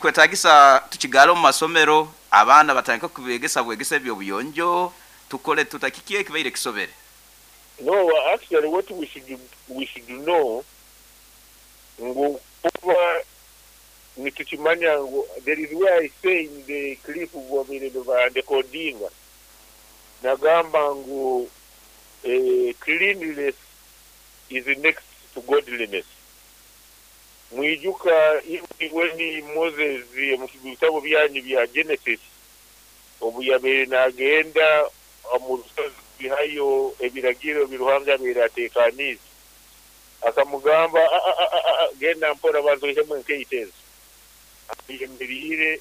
Kwetagisa tukigale omu masomero, abaana batandike kubegesa bwegesa eby'obuyonjo, tukole tuta? Kiki ekibaire kisobere? No, actually what we should know ngu kuba nitukimanya ngu there is where I say in the clip bwabaire nibandekodinga, nagamba ngu cleanliness is next to godliness. Mwijuka even when Moses, mu bitabo byanyu bya Genesis, obu yabaire nagenda omu rusozi kwihayo ebiragiro bi Ruhanga yabaire ateekaniize, akamugamba, "Ah, ah, ah, ah, ah, genda mpora, banza oihemu enkaito ezo ayemeriire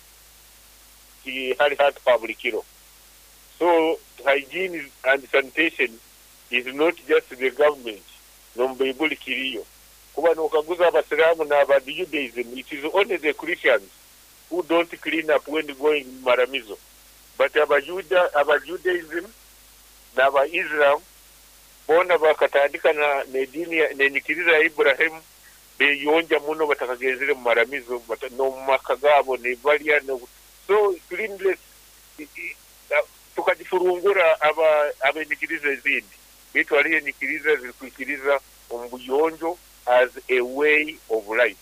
hali hati pa buli kiro." So hygiene and sanitation is not just the government, n'omu Baibuli kiriyo. Kuba nokaguza Abasiraamu n'aba Judaism, it is only the Christians who don't clean up when going mu maramizo, but Abajuda, aba Judaism n'aba Islam boona bakatandika n'ediini n'enyikiriza ya Iburahimu, beyonja muno batakagenzere mu maramizo, n'omu maka gaabo nibalya. So cleanliness tukagifurungura aba abenyikiriza ezindi, baitu hariho enyikiriza zirikwikiriza omu buyonjo as a way of life.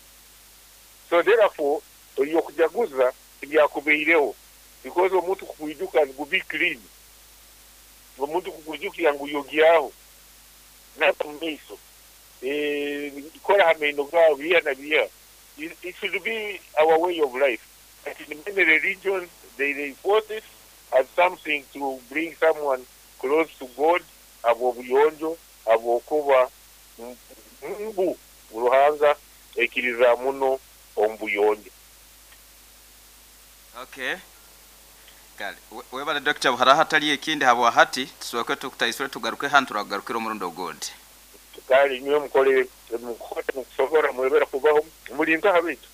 So therefore ebyokujaguza tibyakubaireho, because omuntu kukwijuka ngu be clean, omuntu kukwijukira ngu yogyaho, naba mu maiso, kora ha maino gawe, biha na biha, it should be our way of life. But in many religions they reinforce it as something to bring someone close to God, ab'obuyonjo, habwokuba ngu Ruhanga aikiriza muno omu buyonjo. Okay, kale, webale Dokita. Haraho hatali ekindi, habwa hati tusooke tukutaisule, tugaruke hanu, turakugarukira omurundi ogundi. Kale, inywe mukole mukole mukusobora, mwebera kubaho. Muli nkaha baitu?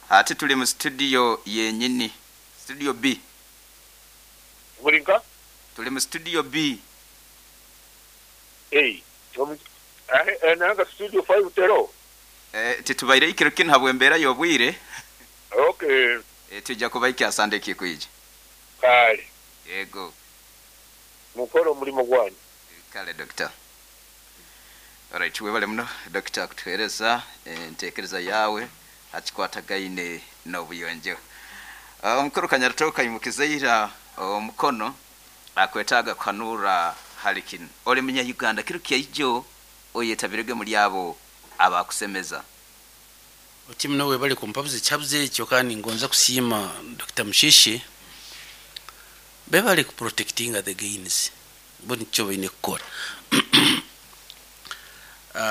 Ati tuli mu studio yenyini, studio B. Muli nka? Tuli mu studio B. Hey, nanga studio 5 tero? Titubaire ikiro kinu habw'embeera y'obwire. Okay. Tujja kuba ikyasande ekikwija. Kale. Yego. Mukole omulimu gwanyu. Kale Dokita. Alright, webale muno Dokita kutuheereza enteekereza yawe hakikwatagaine n'obuyonjo. Omukuru Kanyaratoka imukiza ira omukono, akwetaaga kuhanura hali kinu. Oli Munya-Uganda, kiro kyaijo oyetabirege muri abo abakusemeza. Oti muno webale kumpabuza ekyabuzo ekyo, kandi ngonza kusiima Dr. Mushishi. Bebale kuprotectinga the gains, bo nikyo baine kukora.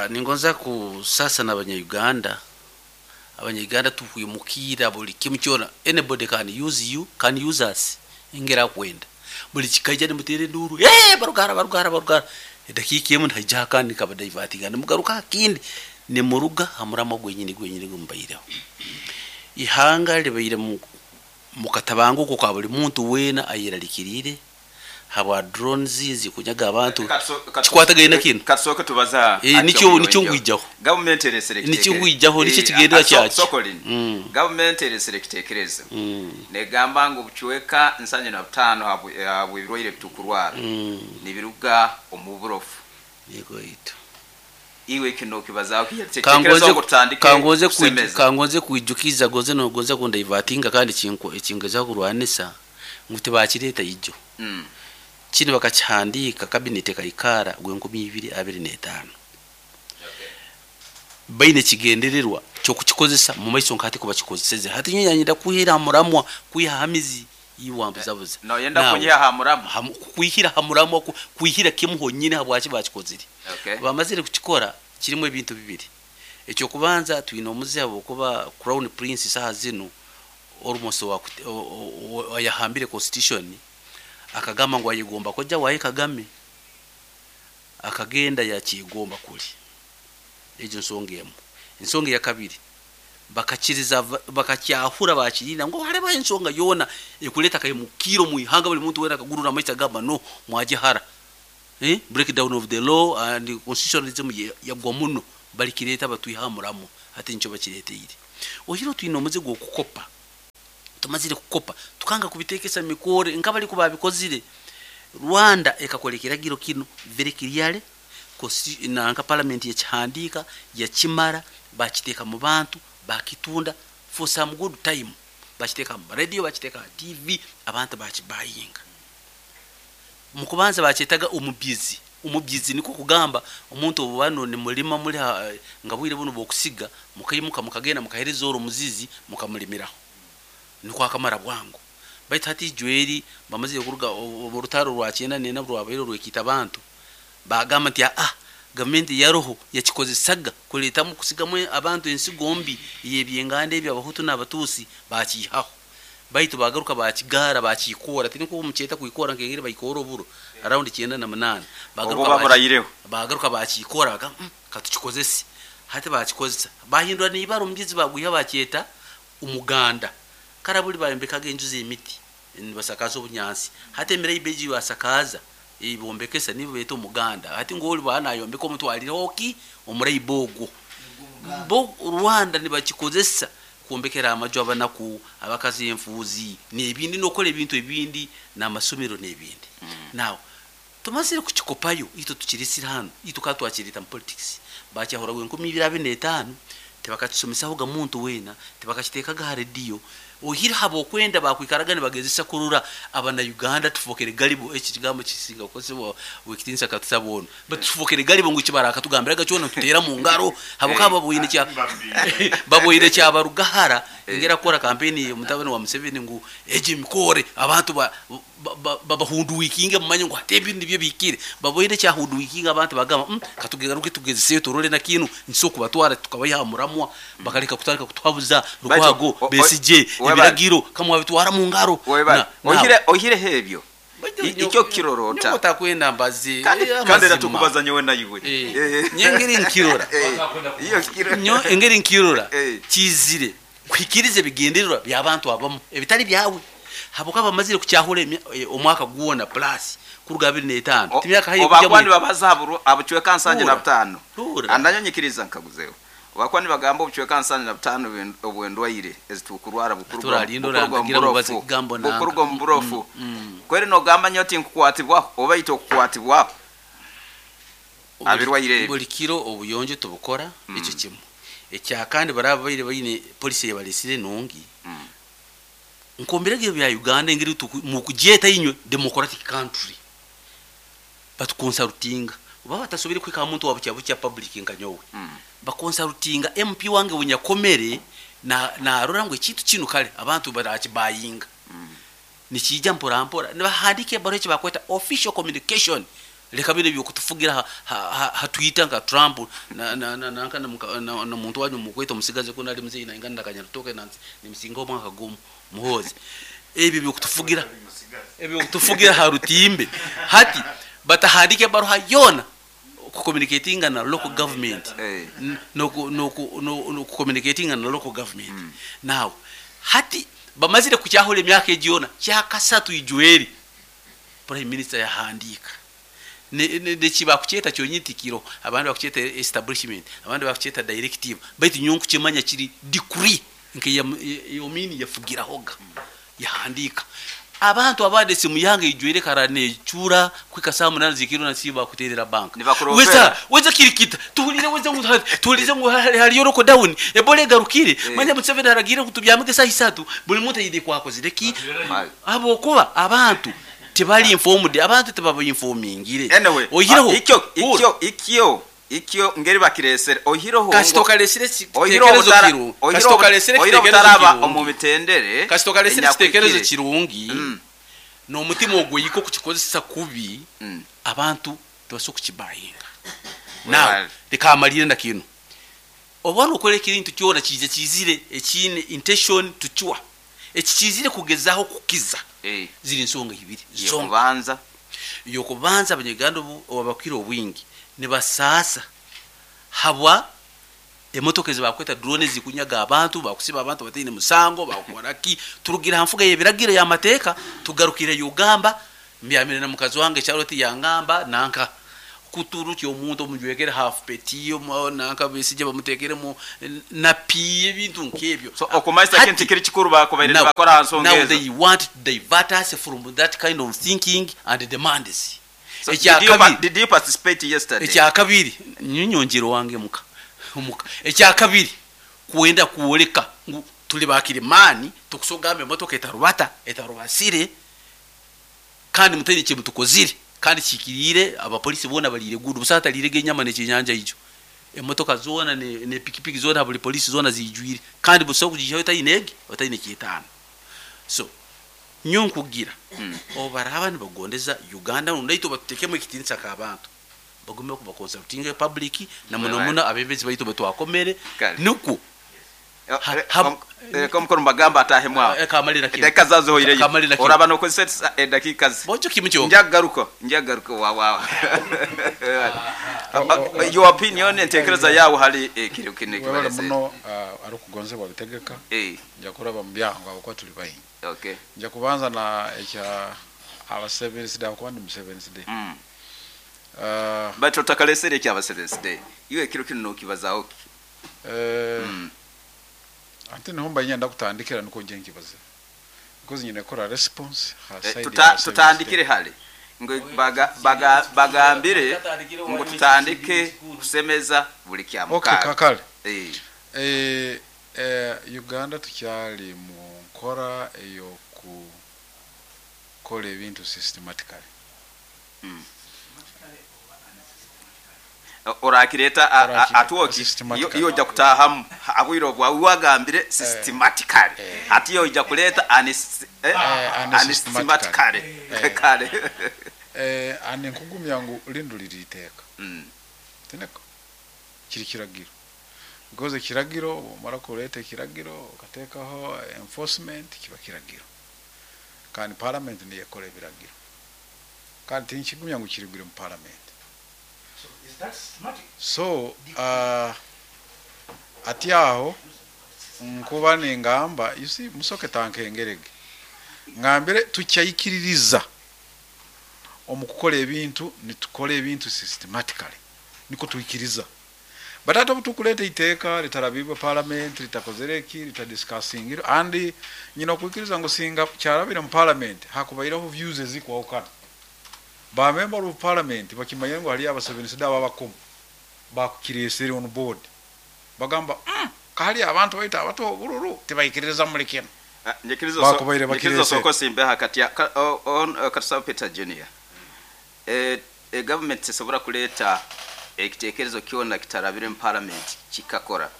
Ningonza kusasa n'Abanya-Uganda. Abanya-Uganda tuhwimukira buli kimu kyona. Anybody can use you, can use us engeri akwenda. Buli kikaija nimuteera enduuru, "Hey, barugara, barugara, barugara." Edakiika emu nihaija akandi kabadivertinga, nimugaruka akindi, nimuruga ha muramo gwenyini gwenyini gumubaireho. Ihanga libaire mukatabanguko ka buli muntu weena ayeralikiriire habwa drones zikunyaga abantu. Kikwatagaine kinu. Katusooke tubaza. Nikyo ngwijaho. Gavumenti eresere. Nikyo ngwijaho, nikyo kigendera kyaki. Sokolini. Gavumenti eresere ekitekerezo, negamba ngu obucweka 75 habw'ebirwaire bitukurwara nibiruga omu burofu. Yego itu. Iwe kino kibazaho? Kangoze Tutandike kangoze kusemeza. Kangoze kwijukiza, goze nogonza kundivertinga, kandi ekingezaho kurwanisa ngu tibakireta ijo. Kino bakakihandika cabinet ekaikara gwe 2025, baine ekigendererwa kyokukikozesa mu maiso nkati kuba kikozeseze. Hati nyanyenda kuhera muramwa, kwiha hamizi iwambuzabuza. Noyenda kunyiha ha muramu? Kwihira ha muramwa, kwihira kimu honyine habwaki bakikozire. Bamazire kukikora, kirimu ebintu bibiri. Ekyokubanza, twine omuze habwokuba Crown Prince saha zinu almost yahambire constitution, akagamba ngu ayegomba kojja waye Kagame, akagenda yakyegomba kuli. Egyo nsonga emu. Ensonga eyakabiri, bakakiriza bakakyahura, bakirinda ngu hariho ensonga yoona ekuleta kaimukiro mu ihanga, buli muntu wena akagurura amaiso agamba no mwagihara, breakdown of the law and constitutionalism yagwa muno, balikireta batwiha muramu. Hati nikyo bakireteire. Ohiro twine omuze gw'okukopa. Tumazire kukopa, tukanga kubitekesa mikore nkabali kubabikozire. Rwanda ekakora ekiragiro kino very clearly, nanka parliament yakihandika, yakimara, bakiteeka mu bantu, bakitunda for some good time, bakiteeka mu radio, bakiteeka ha TV, abantu bakibayinga. Mukubanza bakyetaga omubyizi. Omubyizi niko kugamba omuntu obu bano ni mulima muli nga bwire buno bwokusiga, mukaimuka mukagenda mukahereza oro omuzizi mukamulimiraho, niko akamara bwangu. Baitu hati ijweri bamazire kuruga orutaro rwa 94 rwabaire rwekita abantu, bagamba nti gavumenti yaroho yakikozesaga kuletamu kusigamu abantu ensigo mbi yebyenganda ebyo Abahutu n'Abatuusi, bakiihaho. Baitu bagaruka bakigara, bakikora, tiniko mukyeta kwikora nkengeri bayikora oburo around 98. Obwo baburayireho. Bagaruka bakikora, bagamba, katukikozese. Hati bakikozesa, bahindura n'ibara, omubyizi bagwiha bakyeta umuganda. Karabuli bayombekaga enju z'emiti nibasakaza obunyansi, hati emirayi beji basakaza ibombekesa nibo beta umuganda. Hati ngoli bana ayombeka omutwalireho ki omurayi bogo bo Rwanda nibakikozesa kwombekera amaju abanaku, abakazi, enfuuzi n'ebindi, n'okola ebintu ebindi n'amasomero n'ebindi. Now tumazire kukikopayo, itwe tukirisira hano, itwe ka twakireta mu politics, bakyahuraga 2025, tebakakisomesahoga muntu weena, tebakakiteekaga ha rediyo. Ohire haba okwenda bakwikaraga nibagezesa kurora abana Uganda tufokere gullible. Eki kigambo kisinga kukozesebwa wekitinisa katusaba ono, batufokere gullible ngu kibaraka tugambiraga kyona tutera mu ngaro, habukaba baboine kyabarugahara engera kukora kampeni omutabani wa Museveni ngu ejo emikore abantu babahunduwikinge, mumanye ngu hati ebintu nibyo bihikire. Baboine kyahunduwikinga abantu, bagamba, katugaruke tugezeseyo turole na kinu nso kubatwara tukabayiha muramwa, bakaleka kutandika kutuhabuza Lukwago, Besigye, ebiragiro kamwabitwara mu ngaro. Ohireho ebyo, icyo kirorota. Nyowe takwenda mbazi. Kandi kandi era tukubaza nyowe nayiwe. Nye ngeri nkirora, nyo engeri nkirora, kizire kuhikiriza ebigendererwa by'abantu abamu ebitali byawe, habuka bamazire kukyahura omwaka gwona plus kuruga 25, timyaka hayi. Obakwani babaza abucweka 75. Andanyo nyikiriza nkaguzeho, obakuba nibagamba obucweka 75 obwendwaire ezitukurwara bukuruga omu burofu. Kweri nogamba nyo oti nkukwatibwaho oba ite okukwatibwaho abirwaire. Buli kiro obuyonjo tubukora, ekyo kimu. Ekyakandi baraba baire baine polisi eyabalesire nungi, nkombiragiro bya Uganda engeri mukugyeta inywe democratic country, batuconsultinga oba batasobire kuhika muntu wa bukya bukya public nka nyowe, baconsultinga MP wange wenyakomere narora ngu ekintu kinu kale abantu barakibayinga, nikijja mpora mpora, nibahandika ebaruha eki bakweta official communication. Leka bino ebyokutufugira ha Twitter nka Trump nanka na muntu wanyu mukweta omusigazi kuna ali muzeyi naingana na Kanyarutoke nimusinga omwaka gumu, Muhozi, ebyo byokutufugira ha rutimbe. Hati batahandika ebaruha yona kucommunicatinga na local government, no kucommunicatinga na local government. Now hati bamazire kukyahura emyaka egi yona, kyakasatu ijweri prime minister yahandika nekibakukyeta kyonyini tikiro. Abandi bakukyeta establishment, abandi bakukyeta directive, baitu nyowe nkukimanya kiri decree nke yomini yafugirahoga yahandika. Abantu abandi esimu yange ijwere kara necura kwika saa 8 zikiro na bakuterera banka. Nibakurombera. Weza kirikita tuhulire, weza ngu tuhulirize ngu haliyo lockdown, Ebola egarukire, manya Museveni aragire ngu tubyamike saa 3, buli muntu ayide kwakozire ki, abokuba abantu tebali informed, abantu tebabainformingire. Anyway, oyireho ikyo ngeri bakiresere, oyireho kasitokalesire kitekerezo kirungi, kasitokalesire oyireho kitekerezo butaraba kirungi. Omu mitendere Kasitokalesire kitekerezo enyakwikire. kirungi n'omutima ogweyiko kukikozesa kubi, abantu tebasobola kukibayinga. Now leka amalire na kino, oba nokola ekintu kyona kiija kizire ekiine intention tukiwa eki kizire kugezaho kukiza, ziri nsonga ibiri zonka. Yokubanza. Yokubanza, abanyarwanda abakire obwingi nibasaasa habwa emotoka ezibakweta drone zikunyaga abantu, bakusiba abantu bataine musango, bakukoraki. Turugira ha nfuga y'ebiragiro y'amateeka, tugarukire Ugamba mbyamire na mukazi wange Charlotte, yangamba nanka. Kuturukya omuntu omujwekere half peti nanka Besigye bamutekeremu napi, ebintu nk'ebyo. So okumanyisa kintu kiri kikuru bakubaire nibakora ha nsonga Now ezo. they want to divert us from that kind of thinking and demands. So did you participate yesterday? Ekyakabiri, nyonyongero wange muka muka. Ekyakabiri, kwenda kuoleka ngu tuli bakirimani, tukusogamba emotoka etarubata etarubasire, kandi muteri kye mutukozire, kandi kikirire abapolisi bona balire gudu busata lirege enyama nekinyanja ijo, emotoka zona ne pikipiki zona, buli polisi zona zijwire, kandi buso kujihayo tayinege otayine kitano. So nyonkugira obaraba nibagondeza Uganda undaito batutekemu ekitinisa ka bantu, bagume kuba consulting public na muno muno abebezi baitu batwakomere nuku. Komukuru mbagamba atahemu aho. Kamalira kimwe. Edakika zazohoireyo. Kamalira kimwe. Oraba nokozesa edakika zi. Bojo kimwe kyo. Njagaruko wa wa. Your opinion, entekereza yawe hali ekiro kine Webale kibalese. muno ari kugonzebwa bitegeka. Nja kuraba mu byangu abakuba tuli baingi. Nja kubanza na ekya aba Seventh Day, abakuba ndi mu Seventh Day. But otakalesere ekya Seventh Day. Iwe ekiro kino nokibazaho ki? Ate niho mba nyenda kutandikira, niko nje nkibaze because nyine kora response ha side ya Seventh Tutandikire Day. hali ngo bagambire ngo tutandike kusemeza buli kya Okay, mukaaga. kakale. Uganda tukyali mu nkora eyo kukola ebintu systematically. Orakireta Orakireta atwoki systematically. iyo ojja kutahamu abwire obwawe wagambire systematically, ati yo ojja kuleeta unsystematically. Kale. Ani nkugumya ngu lindu liri iteeka. Tineko kiri kiragiro, because ekiragiro omara kuleeta ekiragiro okateekaho enforcement, kiba kiragiro, kandi parliament niyo ekola ebiragiro, kandi tinkigumya ngu kirigwire mu parliament. So is that systematic? So ati aho nkuba ningamba, you see, musoke tankengerege ngambire tukyayikiririza omu kukola ebintu, nitukora ebintu systematically, niko tuikiriza. But ate obutukuleeta iteeka litarabibwa parliament, litakozere eki, litadiscussingire, and nyina okwikiriza ngu singa kyarabire mu parliament hakubaireho views ezikwahukana. Ba member of parliament bakimanye ngu haliyo abasevenisi ababakomu bakukiresere on board, bagamba kahali abantu baita abato obululu tibaikiriza muri kino. Bakubaire Nyikiriza bakirese. Osoko simbe hakati ya on Katusaba Peter Junior. Government esobola kuleeta ekitekerezo kyona kitarabire mu parliament kikakora?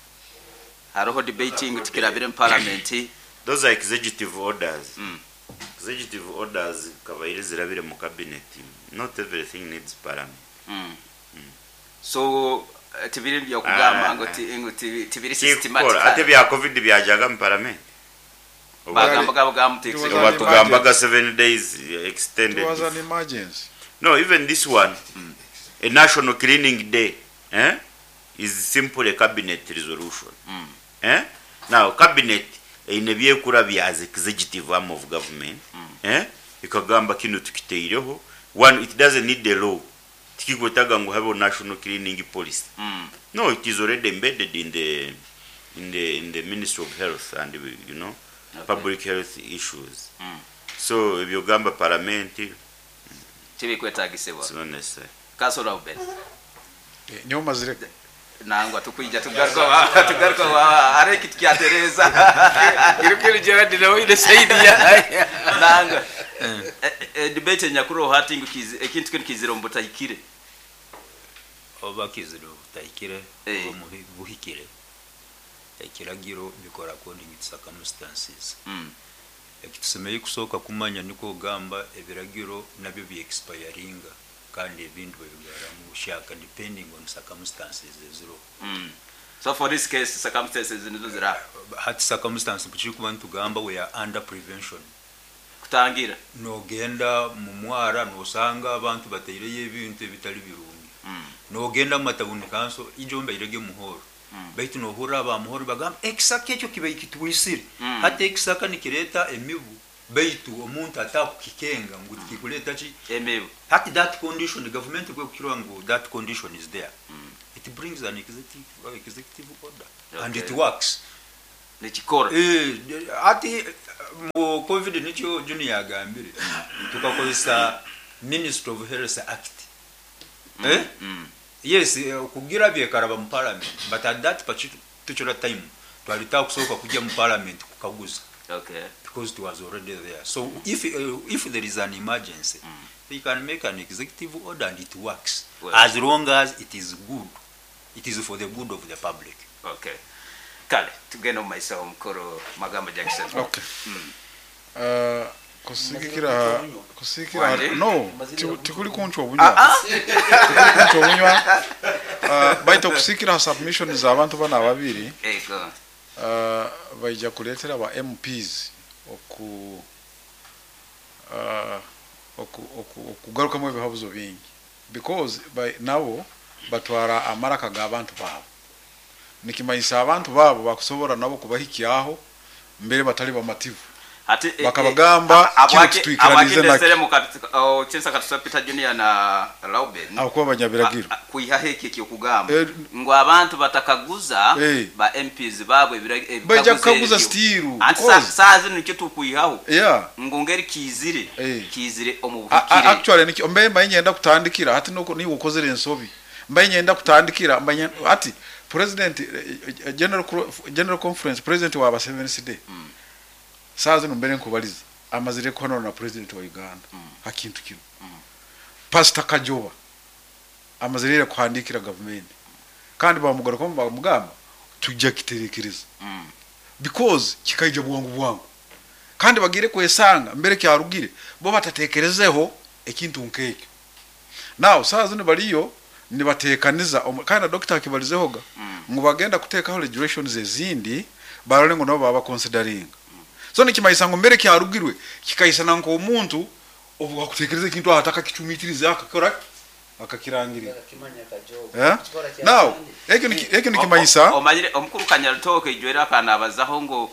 Hariho debating tikirabire mu parliament. Those are executive orders. Executive orders kabaire zirabire mu cabinet. Not everything needs parliament. So tibiri byokugamba Ah, ngo tibiri Kikora systematic. Ate bya COVID byajaga mu parliament. Bagamba gabo It was an Batugambaga emergency. 7 days extended. It was an emergency. No, even this one, a national cleaning day, eh, is simply a cabinet resolution. Eh? Now, cabinet eine byekura bya as executive arm of government. Eh? Ikagamba kino tukiteireho. One, it doesn't need the law. Tikikwetaga ngu habe national cleaning policy. No, it is already embedded in the Ministry of Health and public health issues. So ebyogamba parliament, Tibikwetagisibwa. it's not necessary. Kasola ubere. Niho mazire. Nangwa tukwija tugaruka are kitu kyatereza. Irukiri Gerard nawe ile saidi ya Nangwa debate nyakuru hati ngu ekintu kino kizira mbutahikire. Oba kizira obutahikire oba buhikire, ekiragiro bikora according to circumstances. Ekitusemeriire kusooka kumanya niko ogamba ebiragiro nabyo byexpiringa, kandi ebintu babigaramu bushaka depending on circumstances eziriho. So for this case, circumstances nizo zira Hati circumstance bukirikuba nitugamba we are under prevention. Kutangira. Nogenda mu mwara nosanga abantu bateireyo ebintu ebitali birungi. Nogenda mu matawuni kanso ijo mbairege muhoro, baitu nohurra abamuhoro bagamba ekisaka ekyo kibaire kitwisire. Hati ekisaka nikireta emibu. Baitu omuntu atakukikenga ngu tikikuleta ki Emibu. Hati that condition, government kwekukirwa ngu that condition is there, it brings an executive order and it works. Nikikora. Ati mu COVID nikyo Junior yagambire, tukakozesa Ministry of Health Act. Yes, kugira byekaraba mu parliament, but at that particular time twali takusoboka kujja mu parliament kukaguza. Because it was already there. So if there is an emergency, they can make an executive order and it works. Well, as long as it is good, it is for the good of the public. Okay. Kale, tugenda mu maiso omukuru Magambo Jackson. Okay. Kusikira no tikuli kunchwa obunywa. Tikuli kunchwa obunywa. Baito kusikira submission za abantu bana babiri. Ego. Baija kuletera ba MPs oku okugarukamu ebihabuzo bingi because by nabo batwara amaraka g'abantu babo, nikimanyisa abantu babo bakusobora nabo kubahikyaho mbere batali bamativu. Ati bakabagamba kino kitwikiranize naki chinsa katusa Peter Junior na Lauben akuba abanyabiragiro kuiha heki ekyokugamba ngo abantu batakaguza ba MPs babwe baija kukaguza stiru anti saa zino nikyo tukuihaho ngo ngeri kizire kizire omu buhikire. Actually nikyo mbe mbaye ngenda kutandikira hati nuko ni ukozere ensobi mbaye ngenda kutandikira mbaye ati president general conference president wa 7th saa zino mbere nkubaliza amazire kuhanura na president wa Uganda hakintu kino. Pastor Kajoba amazire kuhandikira government kandi bamugaruka bamugamba tujja kiterekereza because kikaija bwangu bwangu kandi bagire kwesanga mbere kyarugire bo batatekerezeho ekintu nkekyo. Now saa zino baliyo nibatekaniza kandi doctor akibalizehoga ngo bagenda kutekaho regulations ezindi barole ngo nabo baba considering. So nikimayisa ngo mbere kyarugirwe kikayisana nko omuntu obu akutekereza ekintu ahataka kicumitirize akakora akakirangirira. Now ekyo nikimayisa omanyire omukuru Kanyarutoke ijwera akanabazaho ngo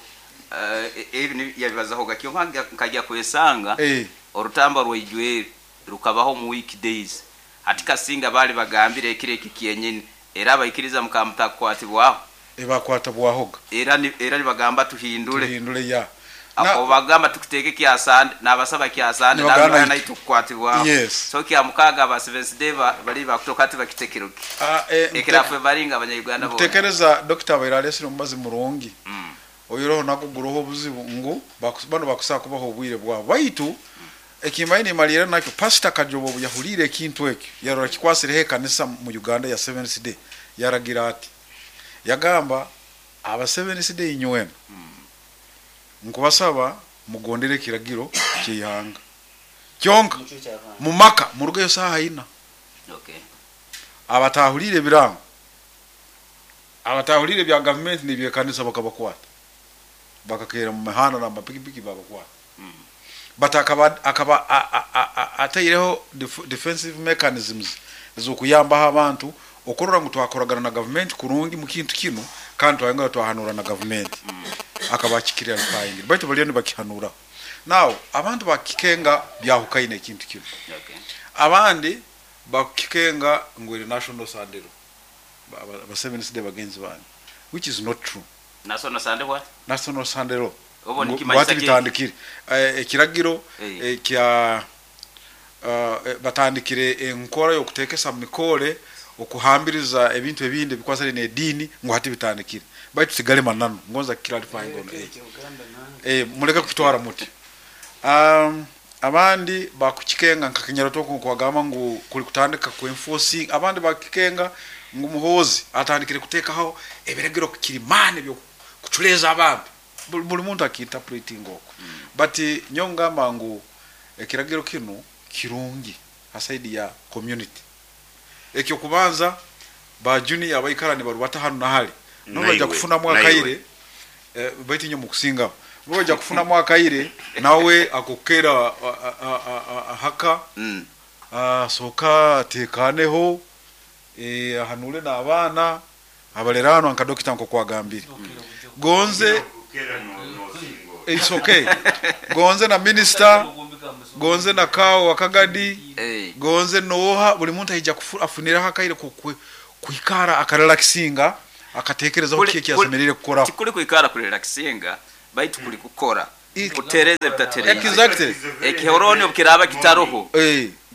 ebi yabibazaho gakyo nkajya kwesanga orutamba rw'ijwere rukabaho mu weekdays ati kasinga bali bagambire ekire kiyenyene era abayikiriza mukamutakwatibwaho ebakwata bwahoga era nibagamba tuhindule ya ako bagamba tukuteke kyasande nabasaba kyasande nabana itukwatibwa. Yes. So kya mukaga ba Seventh Day bali bakutoka ati bakitekeruki ekerafe baringa abanya Uganda bo tekereza Dr. Bairalesi mubazi murungi oyiroho nakuguroho obuzibu ngu bano bakusaka kubaho obwire bwabo baitu ekimbaini malira nakyo Pastor Kajobo yahulire ekintu ekyo yarora kikwasirehe kanisa mu Uganda ya Seventh Day yaragira ati yagamba aba Seventh Day inywena nkubasaba mugondere kiragiro kyihanga kyonka mumaka murugeyo saha ina. Okay. Abatahulire birango abatahulire bya government ni kanisa bakabakwata bakakera mu mihanda na mapikipiki babakwata. But akaba ataireho defensive mechanisms zokuyambaho abantu okorora ngu twakoragana na government kurungi mu kintu kino kandi twayongera twahanura na government akabakikirira bikayingira baitu baliyo nibakihanura. Now abantu bakikenga byahukaine ekintu kino. Abandi bakikenga ngu eri national sandero ba Seventh Day bagenzi bandi, which is not true. National Sunday what? National Sunday obo nikimanyisa bitandikire ekiragiro kya batandikire enkora yokutekesa mikole okuhambiriza ebintu ebindi bikwasale ne dini ngo hati bitandikire baitu sigale manano ngonza clarify ngono muleka kutwara muti. Abandi bakukikenga nka Kanyarutoke kwagamba ngu kuli kutandika ku enforcing abandi bakikenga ngu Muhozi atandikire kutekaho ebiragiro kirimane byo kuchuleza abantu buli muntu akiinterpreting oko. But nyongamba ngu ekiragiro kino kirungi aside ya community ekyo kubanza ba junior abaikara ni barubata hano nahali no bajja kufuna mwakaire baitu nyo mukusinga bajja kufuna mwakaire nawe akokera haka soka tekaneho ahanule na abana abalerano nka dokita nko kwagambire gonze It's okay, gonze na minister, gonze na kawo wakagadi, gonze noha, buli muntu aija afuniraho akaire kwikara akarelaxinga, akatekerezaho kiki ekyasemerire kukoraho. Tikuli kwikara kurelaxinga, baitu kuli kukora kutereze bitatereze. Exactly. Ekihoroni obukiraba kitaroho,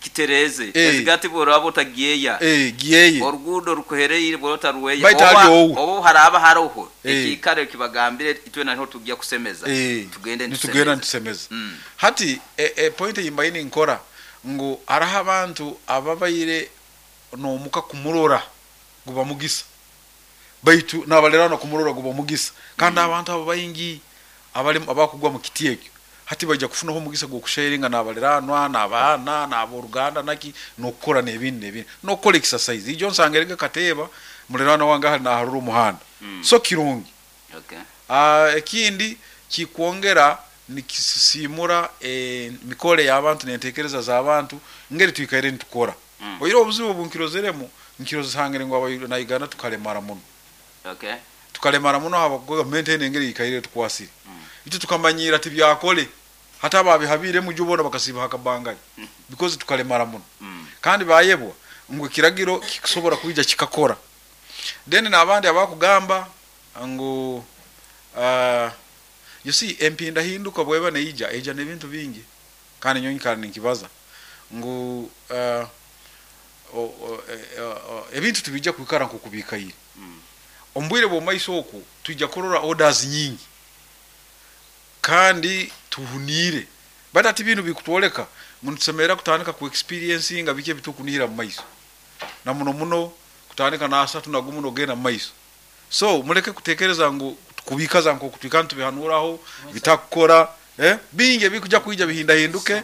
kitereze. Ezigati bworaba otagyeya, giyeye, oruguudo rukuhereire bwota ruweya, Baitu hali owu. Oba haraba haroho ekikare kibagambire itwe naho tujya kusemeza, tugende. Nitugenda nitusemeza. Hati point yimbaini nkora ngu hariho abantu ababaire nomuka kumurora guba mugisa, baitu nabalerano kumurora guba mugisa, kandi abantu abo baingi abali abakugwa mu kiti ekyo hati bajja kufunaho omugisa gw'okusharinga n'abaliranwa n'abaana n'aboruganda naki, n'okukora n'ebindi n'ebindi, n'okukora exercise ijo nsangerege kateeba mulirano wange ahali naharura omuhanda. So kirungi. Ekindi kikwongera nikisisimura emikore y'abantu n'entekereza z'abantu ngeri twikaire nitukora. Oire obuzibu obu nkirozeremu, nkirozesangire ngu na Uganda tukalemara muno. Tukalemara muno haba gavumenti eno engeri ikaire tukwasire. Itu tukamanyira tibyakole, hata ababihabiremu jo bona bakasiba hakabangari because tukalemara muno. Kandi bayebwa ngu ekiragiro kikusobora kwija kikakora. Then n'abandi abakugamba ngu you see, empinda hinduka bweba neija, eija n'ebintu bingi, kandi nyowe nkara ninkibaza ngu ebintu tibijja kwikara nk'okubikaire. Omu bwire bw'omumaiso oku twija kurora orders nyingi kandi tuhuniire, baitu ati binu bikutwoleka ngu nitusemerera kutandika ku experiencinga biki ebitukunihira mu maiso, na muno muno kutandika n'asatu na gumu n'ogenda mu maiso. So muleke kutekereza ngu kubikaza nk'oku twikara nitubihanuraho bitakukora, bingi ebikuja kwija bihindahinduke,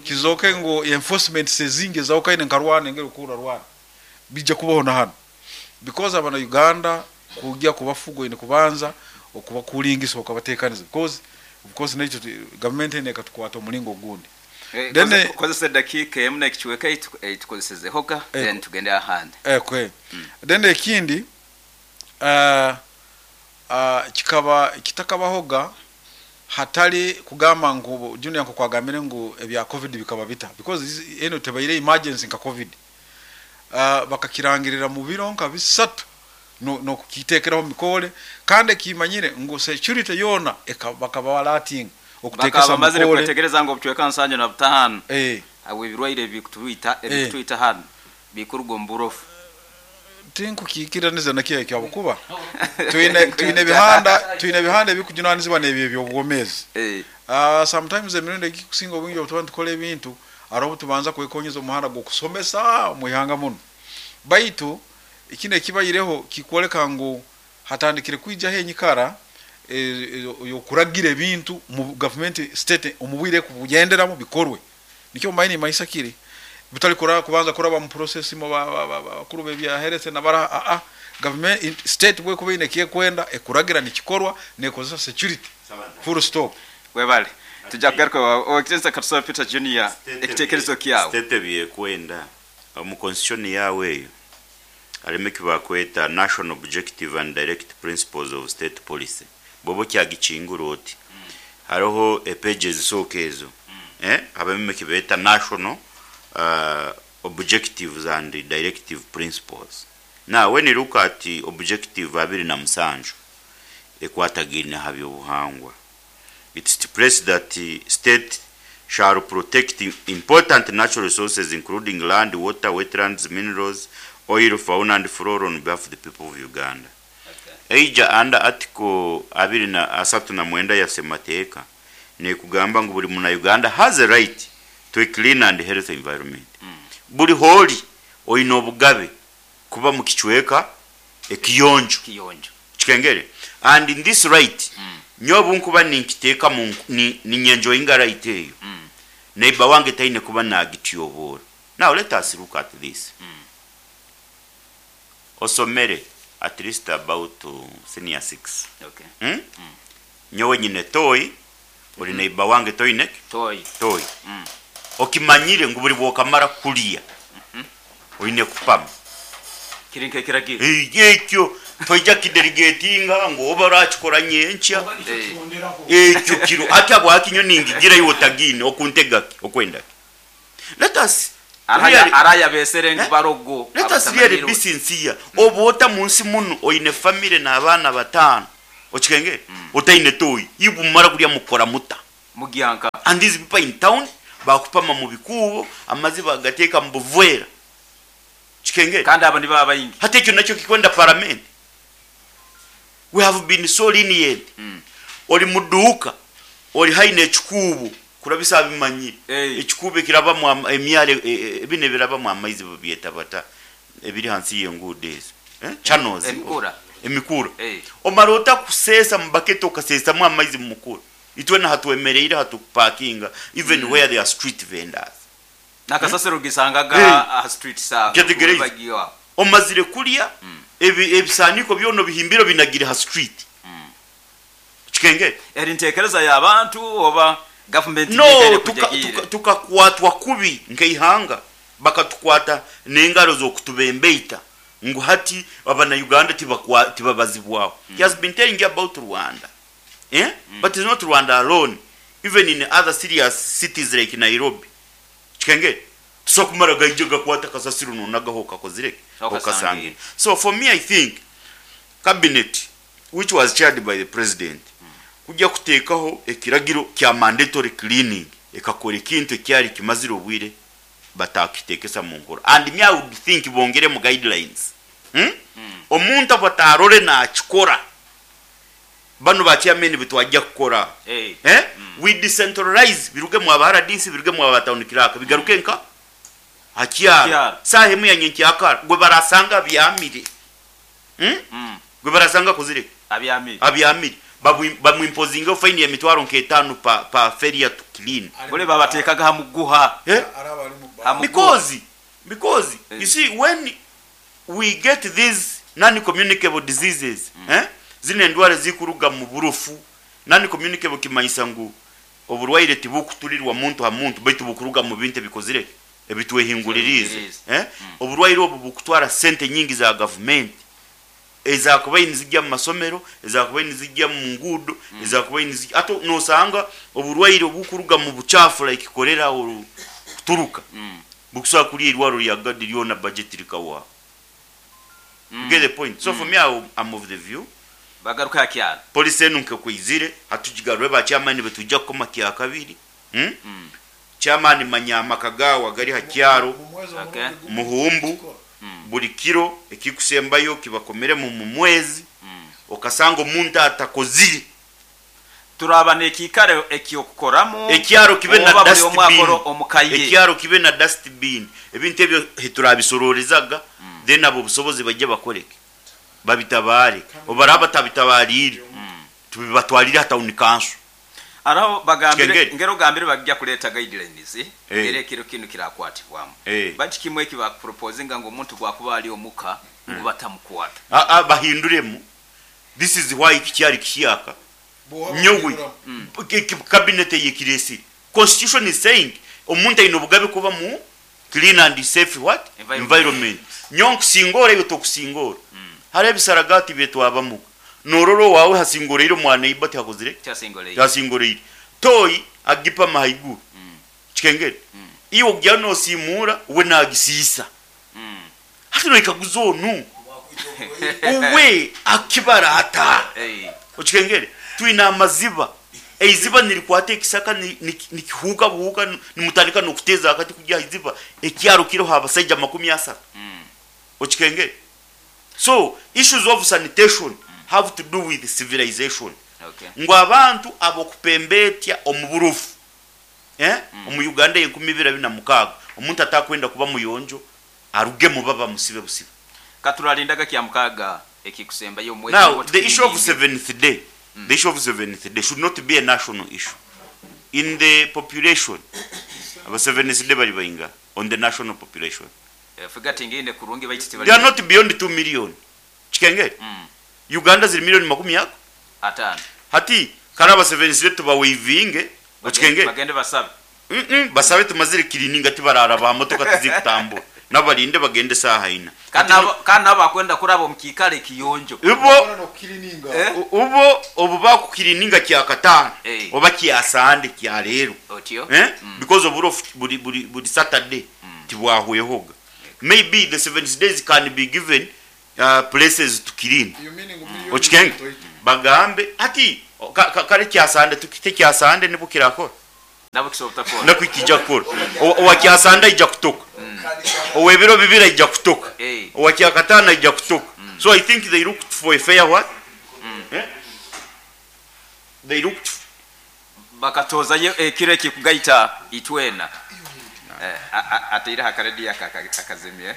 kizoke ngu enforcement sezingi ezawukaine nka Rwanda engeri okura Rwanda bijja kubaho na hano, because abana Uganda kujya kubafuga oine kubanza okubakulingisa okabatekaniza, because of course nekyo government ene ekatukwata omulingo ogundi. Then, Kozesa edakiika emu n'ekicweka eitukozesezehoga, then tugende ahandi. Okay. Then ekindi kikaba kitakabahoga hatali kugamba ngu Junior nko kwagambire ngu ebya COVID bikaba bita, because eno tebaire emergency nka COVID. Bakakirangirira mu biro nka 3 no kukitekeraho mikole, kandi ekimanyire ngu security yona bakaba balatinga okutekesa Bakaba bamazire mikole. Kwetegereza ngu obucweka 75 abo ebirwaire ebikutwita hano bikuruga omu burofu. Tinkukikiraniza nakyo ekyo, habwokuba twine ebihanda ebikujunanizibwa n'ebyo eby'obwomeezi. Sometimes emirundi egikusinga obwingi obu tuba nitukora ebintu, hariho obu tubanza kwekonyeza omuhanda gw'okusomesa omu ihanga muno, baitu kino ekibaireho kikwoleka ngu hatandikire kwijaho enyikara y'okuragira ebintu mu gavumenti state omu bwire kubugenderamu bikorwe. Nikyo mumanyi nimaisa kiri butali kubanza kuraba mu process mu bakuru b'ebyaherese nabara a government state bwekuba ine ekyekwenda ekuragira nikikorwa nekozesa security, full stop. Webale, tujja kugaruka owekitinisa Katusaba Peter Junior, ekitekerezo kyawe. State byekwenda omu constitution yawe eyo harimu ekibakweta national objective and direct principles of state policy. Bwoba okyagikingura oti hariho epeji ezisooka ezo, habamu ekibeeta national objectives and directive principles. Now when you look at objective 27 ekwatagaine ha byobuhangwa, it stipulates that the state shall protect important natural resources including land, water, wetlands, minerals, oil, fauna and flora on behalf of the people of Uganda. Eija under article 39 ya semateeka nekugamba ngu buli muna Uganda has a right to a clean and healthy environment. Buli holi oine obugabe kuba mu kicweka ekiyonjo. Kiyonjo. Kikengere. And in this right, nyowe bunkuba ninkiteeka mu ninyenjoyinga right eyo, neighbor wange taine kuba nagityoboora. Now let us look at this. Osomere at least about senior 6. Nyowe nyine toyi, ori neighbor wange toyine Toyi. Toyi. Okimanyire ngu buli bwokamara kulya oine kupama. Kiri nk'ekiragiro. Ekyo Toija kidelegatinga ngu oba orakikora nyenkya. Ekyo kiro hati habwaki nyowe ningigira iwe otagiine okuntega ki okwenda ki? Let us really, Araya besere ngu barogo let us really be sincere. Oba ota munsi munu oine family n'abaana bataano okikengere otaine toyi iwe mumara kulya mukora muta? Mugyanka. And these people in town bakupama mu bikuubo amazi bagateeka mu buvera. Kikengere. Kandi abo nibo abaingi. Hati ekyo nakyo kikwenda paramenti? We have been so lenient. Oli mu duuka, oli haihi n'ekikuubo, kurabisa abimanyire. Ekikuubo ekirabamu emyaro, binu ebirabamu amaizi babyeta bata, ebiri hansi y'enguudo ezo? Channels. Emikura. Emikura. Omara ota kuseesa mu baketi okaseesamu amaizi mu mukura? Itwena hatwemereire hatukupakinga even where there are street vendors. Nakasasiro gisangaga aha street sa Nkyetegereize. bagiwa. Omazire kulya ebisaaniiko byona obihimbire obinagire ha street. Kikengere. Eri ntekereza y'abantu oba government No, yekaire kujagiire? tukakwatwa kubi nk'eihanga, bakatukwata n'engaro z'okutubembeita ngu hati abana-Uganda tibabazibwaho. He has been telling you about Rwanda. Eh? But it's not Rwanda alone. Even in other serious cities like Nairobi. Kikengere. Tusobola kumara gaija gakwata kasasiro nonagaho okakozire ki? Okasangire. So for me I think cabinet which was chaired by the president kujya kuteekaho ekiragiro kya mandatory cleaning ekakora ekintu ekyari kimazire obwire batakitekesa mu nkora and me I would think bongeremu guidelines. Omuntu obu atarore nakikora Banu ba chairman bitwajja kukora eh we decentralize biruge mu aba RDC biruge mu aba town clerk bigaruke nka ha kyaro saaha emu ya nyenkyakara gwe barasanga abyamire gwe barasanga akozire ki abyamire bamu imposingeho fine ya mitwaro nk'etaano per failure to clean. Buli babateekaga ha muguha. Eh? Because you see when we get these non communicable diseases eh zinu endwara ezikuruga mu burofu, non communicable kimanyisa ngu oburwaire tibukutulirwa muntu ha muntu baitu bukuruga mu bintu ebikozire ebitwehinguliriize eh oburwaire obu bukutwara sente nyingi za gavumenti ezakubaire nizigya mu masomero, ezakubaire nizigya mu nguudo, ezakubaire nizigya hati nosanga oburwaire obukuruga mu bucaafu like cholera or kuturuka bukusobora kulya eirwaro rya Gadi ryona budget rikahwaho. You get the point? So for me I'm of the view Bagaruke ha kyaro. Policy enu nkekwizire hati tugigarure ba chairman nibitwija kukoma kyakabiri. Chairman manya amaka gaawe agari ha kyaro Muhumbu buri kiro ekikusembayo kibakomeremu mu mwezi okasanga omuntu atakozire. Turaba n'ekiikaro eky'okukoramu Ekyaro kibe na oba buli omu dustbin. akora omu ka ye. Ekyaro kibe na dustbin. Ebintu ebyo hiturabisoroorezaga then ab'obusobozi baije bakore ki? Babitabaare. Obu baraaba batabitabaariire, tubibatwalire ha town council. Araho bagambire Kikengeri. ngero ogambire bagya kuleeta guidelines era ekiro kinu kirakwatibwamu. Baitu kimu eki bakuproposinga ngu omuntu bwakuba ali omuka ngu batamukwata. Aa bahinduremu. This is why kikyari kihyaka. Nyowe cabinet eyekiresire. Constitution is saying omuntu aine obugabe kuba mu clean and safe what? Environment. Nyowe nkusingoora iwe tokusingoora. Hariho ebisaragaati byetwabamuga. Norora owaawe hasingoreire omwa neighbor tihakozire ki? Tihasingoreire. Toyi agipama haiguru. Kikengere. Iwe ogya nosiimuura we nagisiisa. Hati noyekaguza onu uwe akibara ata? Okikengere? Twine amaziba. Eiziba nirikwata ekisaka nikihuuka buhuuka nimutandika n'okuteeza akati kugya aha iziba. Ekyaro kiriho abasaija 30. Okikengere? So issues of sanitation have to do with civilization. Ngu abantu ab'okupembeetya omu burofu eh omu Uganda ey'enkumi ibiri abiri na mukaaga omuntu atakwenda kuba muyonjo arugemu babamusibe busibe. Katuralindaga Kyamukaaga ekikusembayo omu mwezi Now ngu the issue of tukiringe. seventh day, the issue of seventh day should not be a national issue. In the population, aba seventh day bari baingaha on the national population? Figure tingiine kurungi baitu They tibali are not beyond 2 million. Kikengere? Uganda ziri million makumi ago? Ataano. Hati kare aba seventh day tubaweivinge, okikengere? Bagende basabe. Basabe tumazire kirininga tibararaba aha motoka tizikutambura. Nabalinde bagende saaha ina. Kandi nabo bakwenda kuraba omu kiikaro ekiyonjo. Ibo ubo obu bakukirininga kya katano oba kya Sande kya leero. Otyo? Eh? Because oburofu buri buri buri Saturday tibwahwehoga. Maybe the seventh days can be given places to clean. Okikenge? Bagambe hati kare kya Sande tukite kya Sande nibwo kirakora. Nabo kisobora kutakora. Nakwo kija kukora. Owa kya Sande aija kutoka. Ow'ebiro bibiri aija kutoka. Owa kya katano aija kutoka. So I think they looked for a fair what? Eh? They looked Bakatozayo ekiro ekikugaita itwena. Ateireho akarediyo akazimye.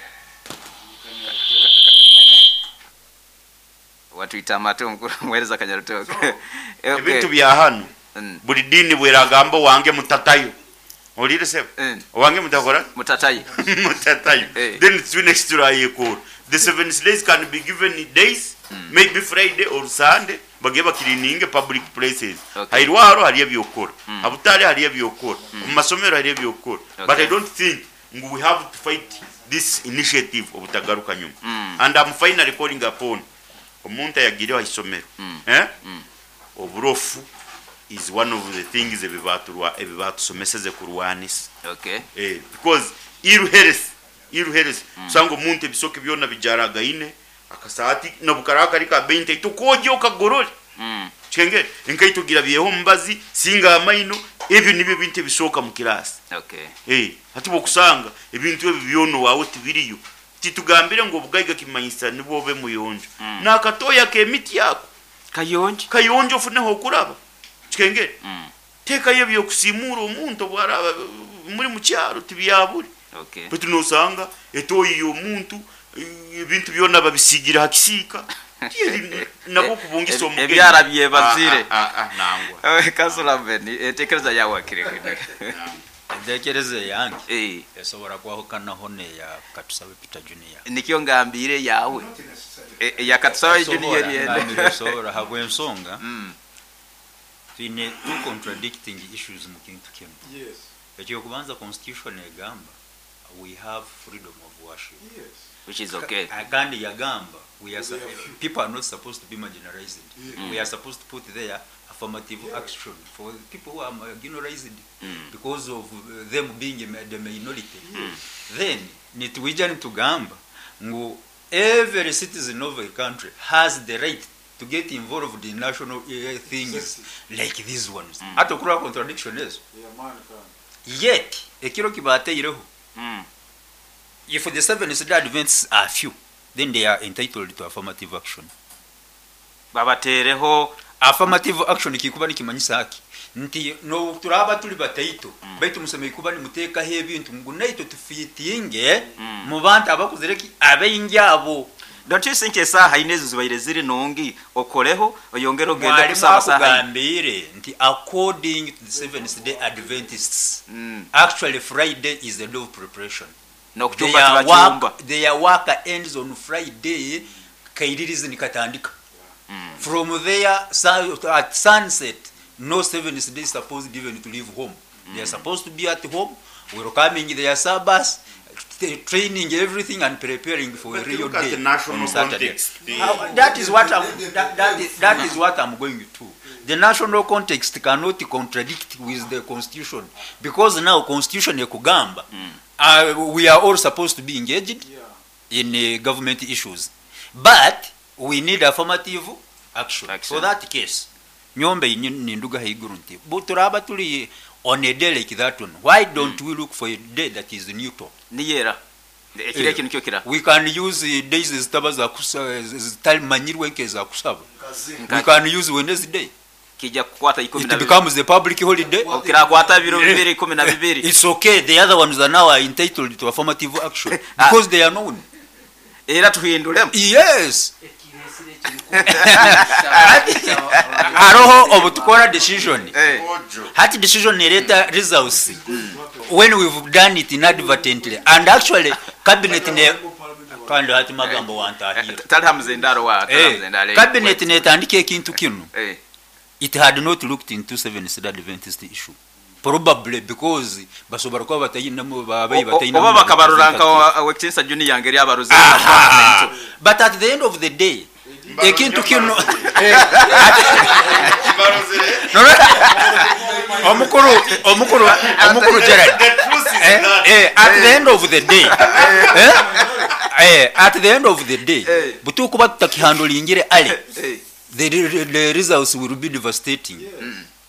Watwita amatu omukuru omuheereza Kanyarutoke. Ebintu bya hanu buri diini bweragamba owange mutatayo. Ohuriire sebo? Owange mutakora? Mutatayo. Mutatayo. Then twine eki turayekora. The seventh days can be given days, maybe Friday or Sunday, bagende bakirininge public places. Hairwaro hariyo ebyokukora, habutare hariyo ebyokukora, omu masomero hariyo ebyokukora. But I don't think ngu we have to fight this initiative obutagaruka nyuma. And I'm finally calling upon omuntu ayagiireho aha isomero. Eh? Oburofu is one of the things ebi baatusomeseze kurwanisa. Because ill health, ill health, osanga omuntu ebisoke byona bijaragaine, akasaati nobu karaba kari ka bei ntaito kogye okagorore. Kikengere? Enkaito girabyeho omubazi, singa amaino, ebyo nibyo ebintu ebisooka mu kiraasi. Hati bwokusanga ebintu ebi byona owaawe tibiriyo, titugambire ngu obugaiga kimanyisa nibwo obe muyonjo. N'akatooyi ak'emiti ako Kayonjo. Kayonjo ofuneho okuraba. Kikengere? Teekayo eby'okusiimuura omuntu obu araaba muri mu kyaro tibyabure. Baitu noosanga etooyi y'omuntu ebintu byona babisiigire ha kisiika. Nabwo okubungisa omugenyi. Ebyara byebazire. Nangwa. Kansula Beni, enteekereza yaawe akire. Enteekereza eyange esobora kwahukanaho n'eya Katusabe Peter Junior. Nikyo ngambiire eyaawe. Eya Katusabe Junior Esobora, esobora habw'ensonga twine two contradicting issues mu kintu kinu. Eky'okubanza constitution egamba we have freedom of worship. Which is okay. Kandi yagamba we are people are not supposed to be marginalized. We are supposed to put there affirmative action for people who are marginalized because of them being the minority. Then nitwija nitugamba ngu every citizen of a country has the right to get involved in national things like these ones. Hati okurora contradiction ezo. Yet ekiro kibateireho, if the Seventh Day Adventists are few, then they are entitled to affirmative action. Babateereho affirmative action kikuba nikimanyisa ki? Nti no turaba turi bataito, baitu musemei kuba nimuteekaho ebintu ngu naitwe tufiitinge mu bantu abakuzire ki abaingi abo. Don't you think esaaha ina ezo zibaire ziri nungi okoreho oyongere ogende Mwalimu kusaba saaha ina? Akugambiire nti according to the Seventh Day Adventists, actually Friday is the day of preparation. N'okucumba Their tibacumba. work ends on Friday, kairirizi nikatandika. From there, at sunset, no Seventh Day is supposed even to leave home. They are supposed to be at home, welcoming their Sabbath, training everything and preparing for a But real look at day the national on Saturday. context. How, that is what I'm, that, that is, that is what I'm going to. The national context cannot contradict with the constitution, because now constitution ekugamba, we are all supposed to be engaged in government issues, but we need affirmative action. Action. For that case, nyombe ninduga haiguru nti turaba turi on a day like that one, why don't we look for a day that is neutral? Niyera ekiro eki nikyo kira. We can use days zitaba za zitamanyirwe nk'eza kusaba. We can use Wednesday. Kijja kukwata ikumi It na bibiri. becomes a public holiday. Kirakwata biro bibiri 12. It's okay. The other ones are now entitled to affirmative action because they are known. Era tuhinduremu. Yes. Haroho obutukora decision. Hati decision ereta results when we've done it inadvertently, and actually cabinet ne kandi hati magambo wantahira. Tali hamuzendaro wa tali hamuzendaro. Cabinet netandika ekintu kinu. It had not looked into Seventh Day Adventist issue. Probably because basobora kuba batayinamu babayi batayinamu oba bakabarora nka wekitinsa junior ngeri abaruze. But at the end of the day ekintu kino omukuru Gerald, at the end of the day, at the end of the day butukuba tutakihandulingire ale, the results will be devastating.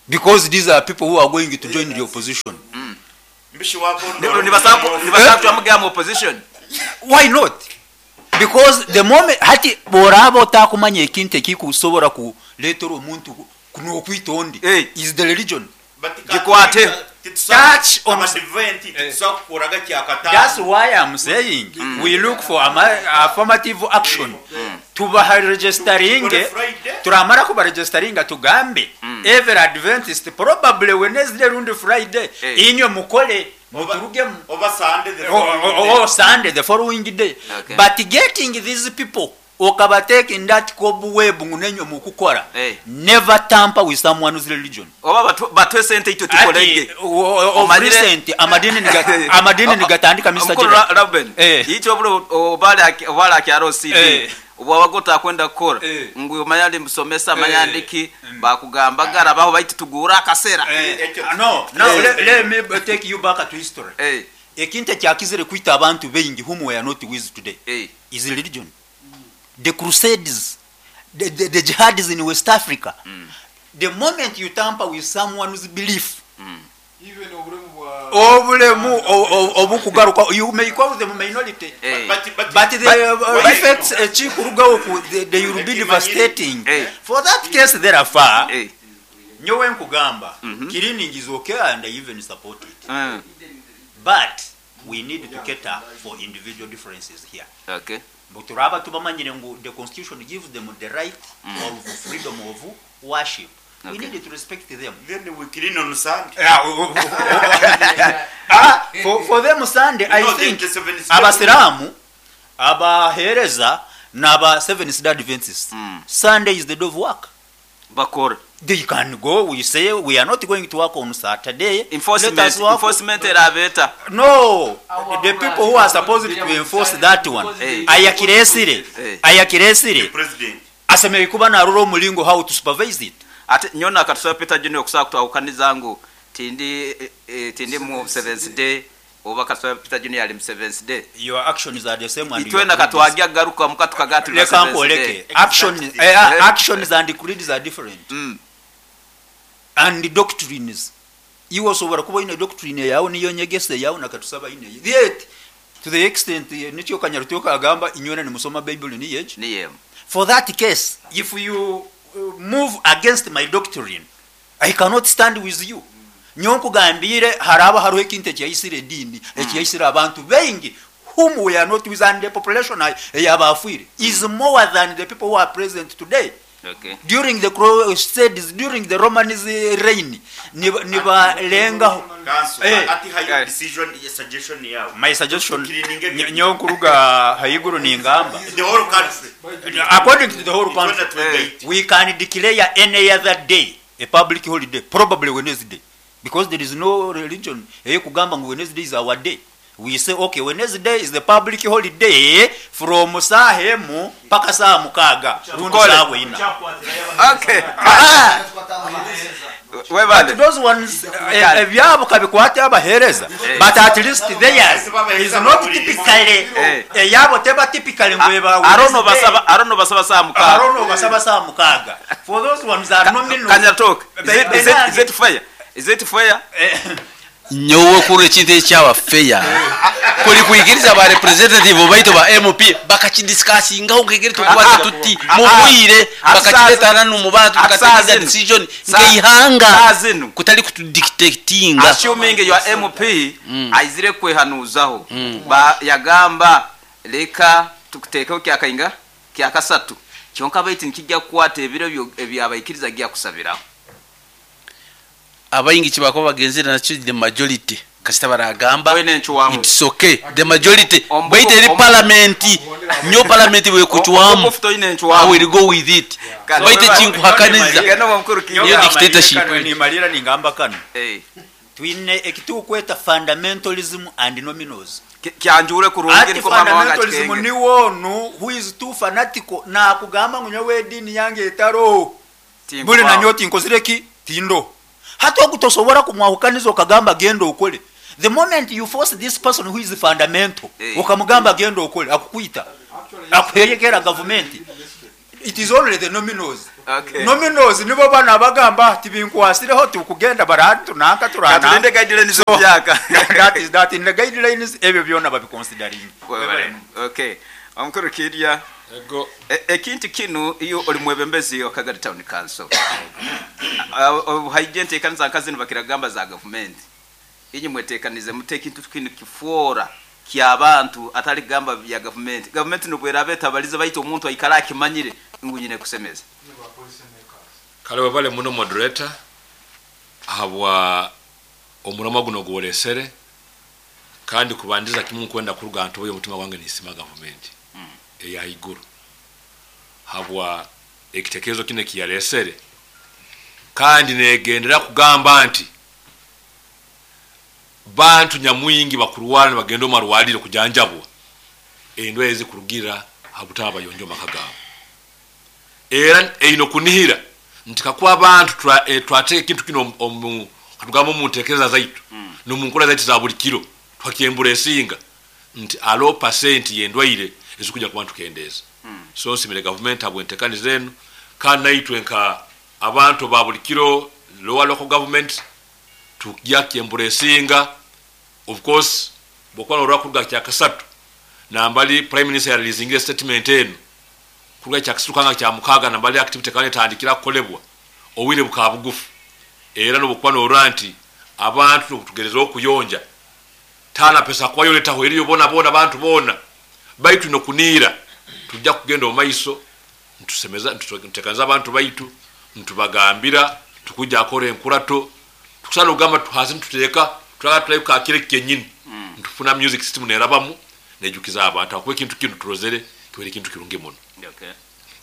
Because these are people who are going to join the opposition. Opposition. Why not? Because the moment hati boraba otakumanya ekintu ekikusobora kuleetera omuntu n'okwita ondi is the religion. Gikwate. Touch on That's why I'm saying we look for affirmative action. Tubaha registering, turamara kuba registering tugambe every Adventist probably Wednesday rundi Friday inywe mukole muturugemu oba Sunday the following day. Sunday the following day. Okay. But getting these people okabatake in that cobweb ngunenyo mukukora. Never tamper with someone's religion. Oba batwe sente ito tukolege. Recent amadini nigatandika Mr. Gerald. Ruben. Icho bulo obala kyaro CD. Obwabagota kwenda kukora ngu manyali musomesa manyandiki bakugamba gara baho baitu tugura akasera. No, let me take you back to history. Ekintu kyakizire kwita abantu bengi whom we are not with today is religion. The Crusades, the jihadis in West Africa. The moment you tamper with someone's belief, even obulemu obukugaruka, you may call them minority, but the effects they will be devastating. For that case, therefore, nyowe nkugamba, cleaning is okay and I even support it. But we need to cater for individual differences here. Okay. But turaba tubamanyire ngu the constitution gives them the right of freedom of worship. We need to respect them. Then we clean on Sunday. For them Sunday, I think abasiramu, abahereza n'aba Seventh Day Adventists. Sunday is the day of work. Bakora. They can go. We say we are not going to work on Saturday. Enforcement erabeta. No, the people who are supposed to enforce that one. Ayakiresire. Ayakiresire. President. Asemeye kuba narura omulingo how to supervise it. Ate nyona katusaba Peter Junior okusaba kutwawukaniza ngu tindi mu Seventh Day oba katusaba Peter Junior ali mu Seventh Day. Your actions are the same and itwena katwagya garuka mukatukaga tuli Seventh Day. Actions and creeds are different. And the doctrines. Iwe osobora kuba ine doctrine yawe niyo nyegese yawe nakatusaba ine. Yet to the extent nikyo Kanyarutoka agamba inywena ni musoma Bible ni yeje. Niye. For that case, if you move against my doctrine, I cannot stand with you. Nyonkugambire haraba hariho ekintu ekyayisire edini, ekyayisire abantu bengi whom we are not with, and the population eyabafwire is more than the people who are present today. Okay. During the Crusades, during the Roman reign, nibalengaho. Ati hayo decision, suggestion yawe. My suggestion, nyonkuruga hayiguru ningamba. The whole country. According to the whole country, we can declare any other day a public holiday, probably Wednesday, because there is no religion. Kugamba ngu Wednesday is our day. We say, okay, Wednesday is the public holiday from saa hemu paka saa mukaga. Rundi saa wina. Okay. But those ones, ebyabo kabikwate abahereza. But at least theirs is not typically. Eyabo teba typically ngweba. Arono basaba saa mukaga. Arono basaba saa mukaga. For those ones are nominal. Kanyatoke. Is it fair? Is it fair? Nyowe kuri ekintu ekyawa fair kuri kwikiriza ba representative baitu ba MP bakakidiscussingaho ngegere tukwata tuti mubwire bakakiretana n'umubantu tukateza decision ngeihanga kutali kutudictatinga. Assuming your MP aizire kwehanuzaho ba yagamba leka tukutekeho kyakainga kyakasatu kyonka baitu nikijja kukwata ebiro ebyabaikiriza gya kusabiraho. Abayingi kibako bagenzera nakyo the majority kasita baragamba it's okay the majority baite eri parliament nyo parliament we kuchwamu I will go with it baite chinkuhakaniza niyo dictatorship ni malira ningamba kano. Twine ekitukweta fundamentalism and nominals. Kyanjure kurungi Ati niko mama wange fundamentalism akikenge. niwo onu who is too fanatical nakugamba ngu nyowe edini yange etaro Tinkubaho. buli nanyo tinkozire ki tindo hati ogutosobora kumwahukaniza okagamba genda okole. The moment you force this person who is fundamental, okamugamba genda okole, akukwita, akuheyekera government. It is only the nominals. Nominals nibo bana bagamba tibinkwasireho tukugenda barantu nanka turana. Katulinde guidelines byaka. That is that in the guidelines ebyo byona babiconsidering. Okay. Omukuru Kirya. Ego. Ekintu kinu iyo oli mwebembezi wa Kagadi Town Council. Haije ntekaniza nkazini bakiragamba za government. Inyi mwetekanize mute ekintu kinu kifuora ky'abantu atali gamba ya government. Government nubwera beta balize bayita omuntu aikara akimanyire ngu nyine kusemeza. Kale webale muno moderator habwa omurama guno gworesere kandi kubandiza kimu kwenda kuruga ntobo y'omutima gwange nisima government eya iguru habwa ekitekerezo kine kiyaresere kandi negendera kugamba nti bantu nyamwingi bakurwara ne bagenda omarwaliro kujanjabwa endwara ezikurugira habutaba bayonjo makagabo era eino kunihira nti kakuba abantu twateka ekintu kino katugamba omu ntekereza zaitu n'omu nkola zaitu za buli kiro twakyembura esinga nti alo pasenti y'endwaire ezikuja kuba ntukendeeza. So nsimire gavumenti habw'entekaniza enu kandi naitwe nka abantu ba buli kiro lower local government tujja kyembura esinga. Of course bwokuba norwa kuruga kyakasatu nambali prime minister yareleasingire statement enu kuruga kyakasatu kanga kya mukaga nambali activity kandi etandikira kukolebwa obwire bukaba bugufu era nobukuba norwa nti abantu nokutugereza okuyonja tana pesa kwayo letaho eriyo bona bona abantu bona baitu nokuniira tujja kugenda omaiso ntusemeza ntutekanza abantu baitu ntubagambira tukuja akora enkurato tukusana ogamba tuhasi ntuteeka tulaga tulayuka akire kenyini ntufuna music system nerabamu nejukiza abantu akuba ekintu kino turozere kiwere ekintu kirungi muno.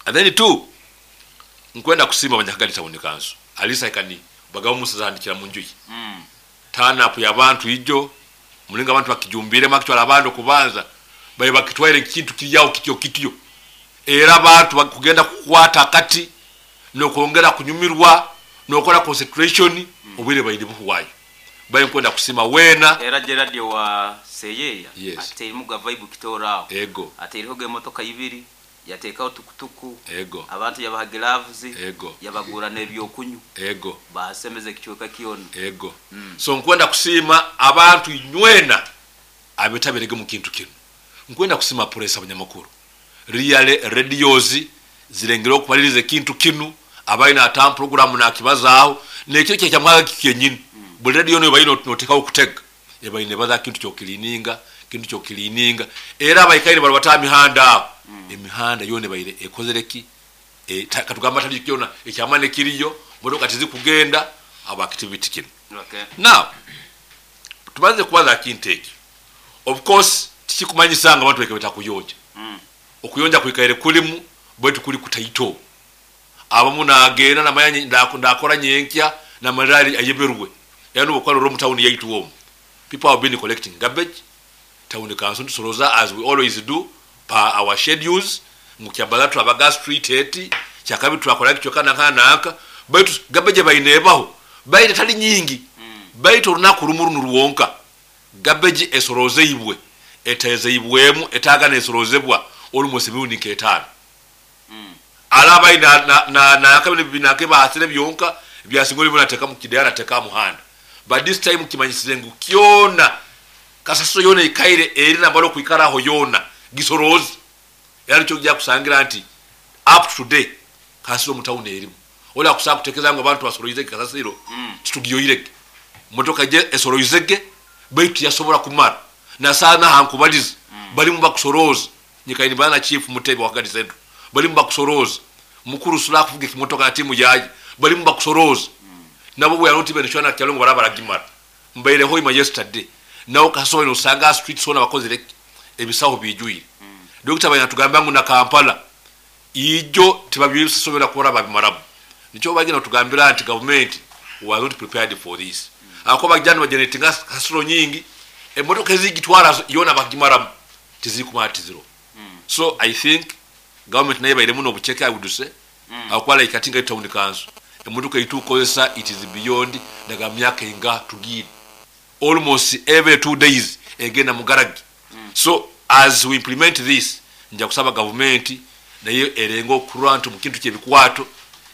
And then two nkwenda kusima abanyakagadi Town Council alisa ikani bagabo musazandikira mu njuyi turn up y'abantu ijo mulinga abantu bakijumbire makitwala abantu kubanza baye bakitwaire ekintu kiryawo kityo kityo era abantu bakugenda kukwata kati nokwongera kunyumirwa nokola concentration obwire bayiri buhuwayo baye nkwenda kusima wena era Gerard wa Seyeya. Yes. Ate muga vibe kitorao ego ate iriho emotoka ibiri yateekaho tukutuku ego abantu yabaha gloves ego yabagura n'ebyokunywa ego basemeze ekichweka kiona ego. So nkwenda kusima abantu nywena abetabirege mu kintu kino. Nkwenda kusima press abanyamakuru real radios zirengera okubaliriza ekintu kinu abalina ata program nakibazaaho nekiro kye kyamwaga kikenyini buli radio no bayina notekawo okutega ebayina baza kintu kyokilininga kintu kyokilininga era abayikaire bali bata mihanda aho emihanda yone bayire ekozereki katugamba tali kyona ekyamane kiriyo motoka tizikugenda aba activity kino. Now tubanze kubaza kintu ekyo. Of course tikikumanyisanga abantu bekebeta kuyonja. Okuyonja kwikaire kulimu bwetu kuli kutaito abamu nagenda namanya ndakora nyenkya na malali ayeberwe yanu okwalo romu town yaitu womu people have been collecting garbage town council tusoroza as we always do pa our schedules mukyabala twabaga street eti kyakabi twakola kichoka nanka baitu garbage bayinebaho bayite tali nyingi baitu olunaku lumu ruwonka garbage esorozeibwe etezeibwemu etagana esorozebwa olumose mirundi nk'etaano. Alaba ina na kabine binake bahasire byonka byasingoli bunateka mu kidara teka muhanda but this time kimanyisize ngu kyona kasaso yona ikaire eri nambalo kuikaraho yona gisorozi era cyo kujya kusangira nti up to day kasiro mu town erimu ola kusaka kutekeza ngo abantu basoroize kasasiro kitugiyoireke motoka je esoroizege baitu yasobora kumara na sana hankubaliza bali mu bakusoroza nyikaini bana chief mutebe wa Kagadi Central bali mu bakusoroza mukuru sula kuvuga kimotoka na timu yaje bali mu bakusoroza nabo bwe yanoti benishwana kyalongo barabara gimara mbaire hoima yesterday nawo kasowe no sanga street sona bakozere ebisaho bijuire. Dr. Bayatugamba ngu na Kampala ijo tibabyisobera kora babimarabu nicho bagina tugambira anti government was not prepared for this. Ako bajja nibageneratinga kasasiro nyingi, emotoka ezigitwara yona bagimaramu tizikumara tiziro. So I think government nayo ebairemu n'obuceke, I would say, akuba like ati nga town council emotoka eitukozesa, it is beyond daga myaka enga tugire almost every 2 days egenda mu garagi. So as we implement this, nja kusaba gavumenti naye erenga okurwa nti mu kintu kyebikwato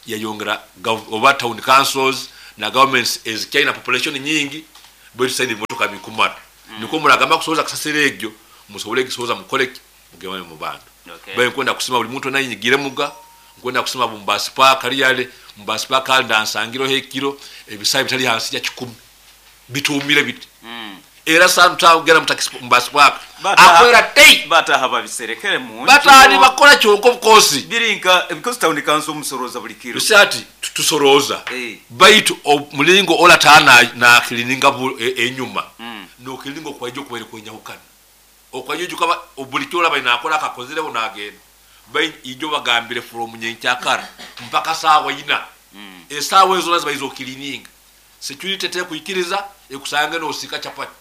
yayongera oba town councils na governments ezikyalina population nyingi, bwetusaini ebimotoka bikumara. Niko muragamba kusoboza kasasiro egyo musobole gisoboza mukoleki mugemane mu bantu. Baye nkwenda kusima buli muntu nayinyigire muga, nkwenda kusima bumbasi park liyale mbasi park ndansangiro hekiro ebisayi bitali hansi ya 10 bitumire biti. Era santa ugera mutakisi mbasi park akwera tei bataha babiserekere mu batali bakola kyonko of course birinka because town council musoroza buli kiro bisati tusoroza. Baitu mulingo ola tana na kilininga enyuma. No kiliningo kwa ijo kwere kwenyahukana okwayo kaba obulikyola bayina akola kakozire onagenda bayi ijo bagambire from nyenkyakara mpaka sawa ina. Esawa ezo lazima izo kilininga security te kuikiriza ekusange no osika chapati.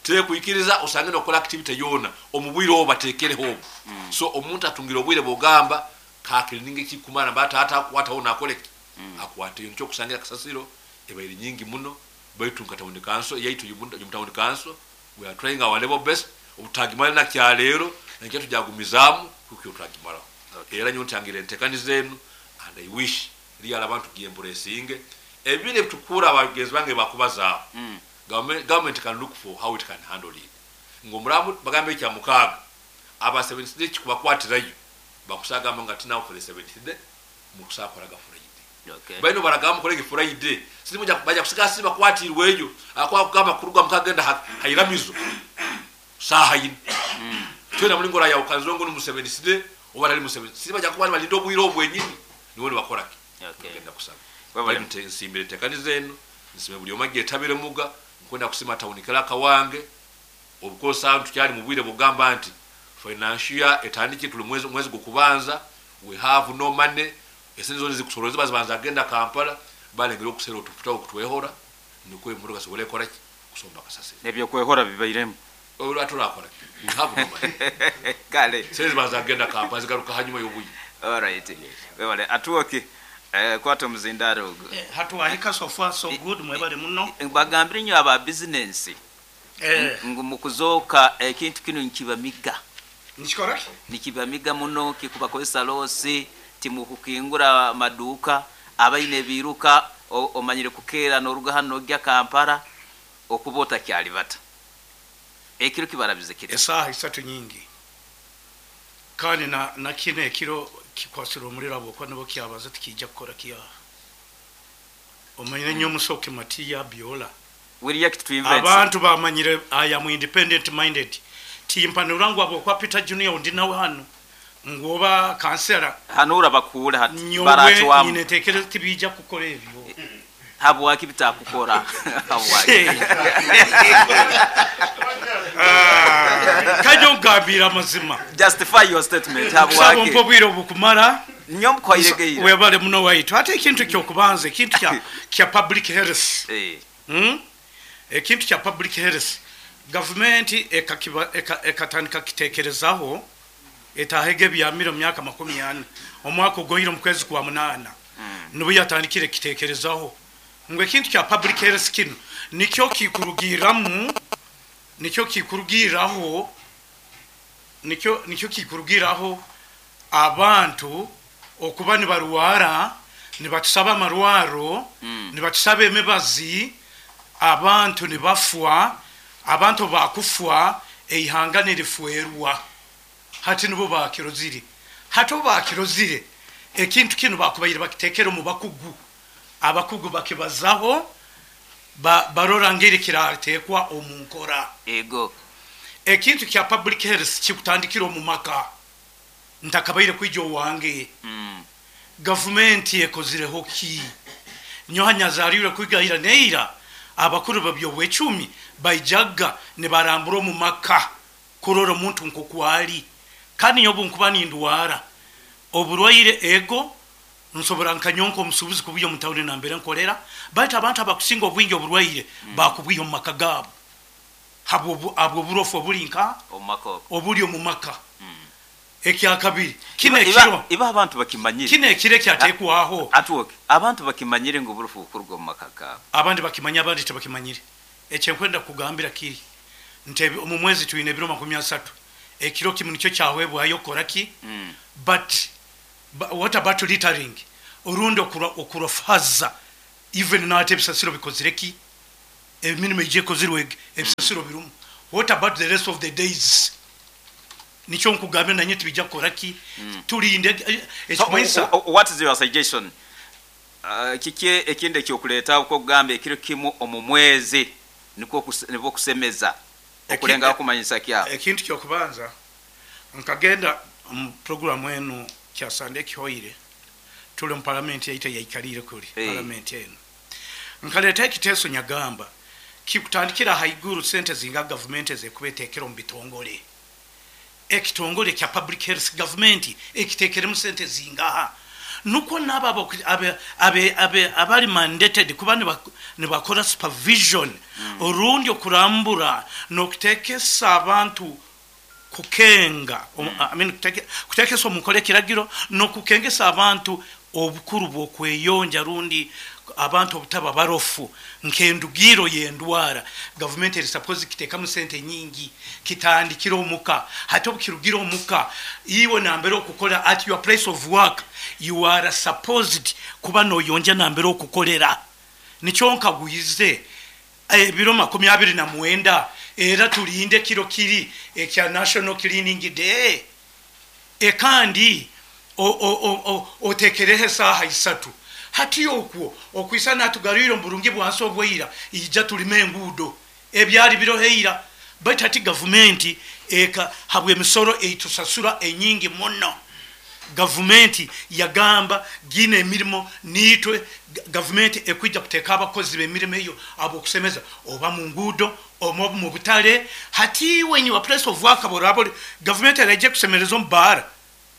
Te kuikiriza osange no kola activity yona omubwire oba batekere ho. So omuntu atungira obwire bogamba ka kilininga kikumana bata hata akwata ona akoleki. Akwate yo kusangira kasasiro ebairi nyingi muno baitu nkatawuni council yaitu yumutawuni council we are trying our level best obutagimala na kyalero nakyo tujagumizamu kukyo tutagimala. Era nyo ntangire entekaniza enu and I wish real abantu giemburesinge ebire tukura abagenzi bange bakubaza. Government can look for how it can handle it. Ngomuramu bagambe kya mukaga aba 7th day kubakwatirayo bakusaga nga tina for the 7th day mukusakora ga Friday. Baino baragamba kolege Friday silimu baja kusika siba kwatirweyo akwa kugamba kuruga mukagenda hairamizo saha yini. Twena mulingora ya ukanzongo mu 7th day oba tali mu 7th siba jakuba balindo bwiro obwenyini niwe bakora ki. Ngenda kusaba bali nsimbire tekaniza eno nsime buli omage etabire muga nkwenda kusima town clerk wange obukosa tukyali mu bwire bugamba nti financial etandike tuli mwezi gukubanza we have no money esenzo zikusoroza bazibanza agenda Kampala balengera okusera otufuta okutwehora niko emotoka sobole kola kusomba kasase nebyo kwehora bibairemu olwa kola we have no money kale sezi baza agenda Kampala zigaruka hanyuma y'obuyi. All right, webale atuoke kwata muzindaro ogo. Hatuwahika so far so good mwebale muno bagambire nyo aba business ngu mukuzoka ekintu kino nkibamiga nikikora nikibamiga muno kikubakozesa losi timukukingura maduka abaine biruka omanyire kukera noruga hano gya Kampala okubota kyalibata ekiro kibarabize kiti esaha isatu nyingi kandi na kine ekiro kikwasira omuliro abo kwa nabo kyabaza tikijja kukora kiya omanyire nnyo musoke Matiya Biola we react to events abantu bamanyire I am independent minded timpanura ngo abo kwa Peter Junior ndi nawe hano ngoba kansera hanura bakura hati barachwa nyine tekereza tibijja kukora ebyo habwaki bitakukora habwaki kajo ngambira amazima justify your statement habwaki sabo mpobwire obukumara nyom kwayiregeira webale muno waitu ate ekintu kyokubanza ekintu kya public health ekintu kya public health government ekatandika kitekerezaho etahege byamira myaka 40 omwaka ogoyire mu kwezi kwa 8 nibo yatandikire kitekerezaho ngo ekintu kya public health kino nikyo kikurugiramu nikyo kikurugiraho nikyo kikurugiraho abantu okuba nibarwara nibatusaba amarwaro nibatusaba emibazi abantu nibafwa abantu bakufwa eihanga nirifwerwa hati nibo bakirozire hati bakirozire ekintu kino bakubayira bakitekera mu bakugu abakugu bakibazaho barora ngeri kiratekwa omunkora ego ekintu kya public health kikutandikira mu maka ntakabaire kwijo wange government ekozireho ki nyohanya zarire kwigahira neira abakuru babyo bwecumi bayijaga ne barambura mu maka kurora omuntu nkokwali kandi nyobu nkuba nindwara oburwaire ego Nsobora nkanyonka omusuubuzi kubuya omu tawuni nambere nkolera, baitu abantu abakusinga obwingi oburwaire bakubwiha omu maka gaabo habw'oburofu obuli nka obuli omu maka. Ekyakabiri, kino ekiro Iba abantu bakimanyire. Kino ekiro ekyateekwaho. Atwoke, abantu bakimanyire ngu oburofu bukuruga omu maka gaabo. Abandi bakimanya, abandi tibakimanyire. Ekyenkwenda kukugambira kiri nti omu mwezi twine ebiro 30, ekiro kimu nikyo kyahwebwayo kukora ki? But what about littering? Orundi okurofaza even nahati ebisasiro bikozire ki? Emirimo egi ekozirwe ebisasiro birumu. What about the rest of the days? Nikyo nkugambira nanye tibijja kukora ki? Tulinde ekimanyisa. So, what is your suggestion? Kiki ekindi ekyokuleeta okugamba ekiro kimu omu mwezi nikwo nibwo kusemeza okulengaho kumanyisa kyabo? Ekintu kyokubanza, nkagenda omu programu enu kyasande ekihoire, tuli omu palamenti yaitu eyaikaliire kuli palamenti enu, nkaleeta ekiteeso nyagamba kikutandikira haiguru sente zinga gavumenti ezekuba etekere omu bitongole. Ekitongole kya public health gavumenti ekitekeremu sente zingaha, nukwo nabo abali mandated kuba nibakora supervision orundi okurambura n'okutekesa abantu kukenga, I mean, kutekesa omu nkora ekiragiro n'okukengesa abantu obukuru bw'okweyonja rundi abantu obutaba barofu nk'endugiro y'endwara. Gavumenti eri suppose kitekamu sente nyingi, kitandikira omuka. Hati obukirugira omuka, iwe nambere okukora, at your place of work, you are supposed kuba noyonja nambere okukolera. Nikyo nkagwize ebiro 29, era tulinde kiro kiri ekya National Cleaning Day, ekandi otekereho esaaha 3. Hati okwo okwisa natugarwire omu burungi bwansi obwaira, ija tulime enguudo ebyali biroheira. Baitu hati gavumenti eka habw'emisoro eitusasura enyingi muno, gavumenti yagamba gina emirimo niitwe gavumenti ekwija kuteeka abakozi b'emirimo eyo ab'okusemeza oba mu nguudo oba mu butale. Hati iwe in your place of work, boraba gavumenti eraija kusemereza omu baara.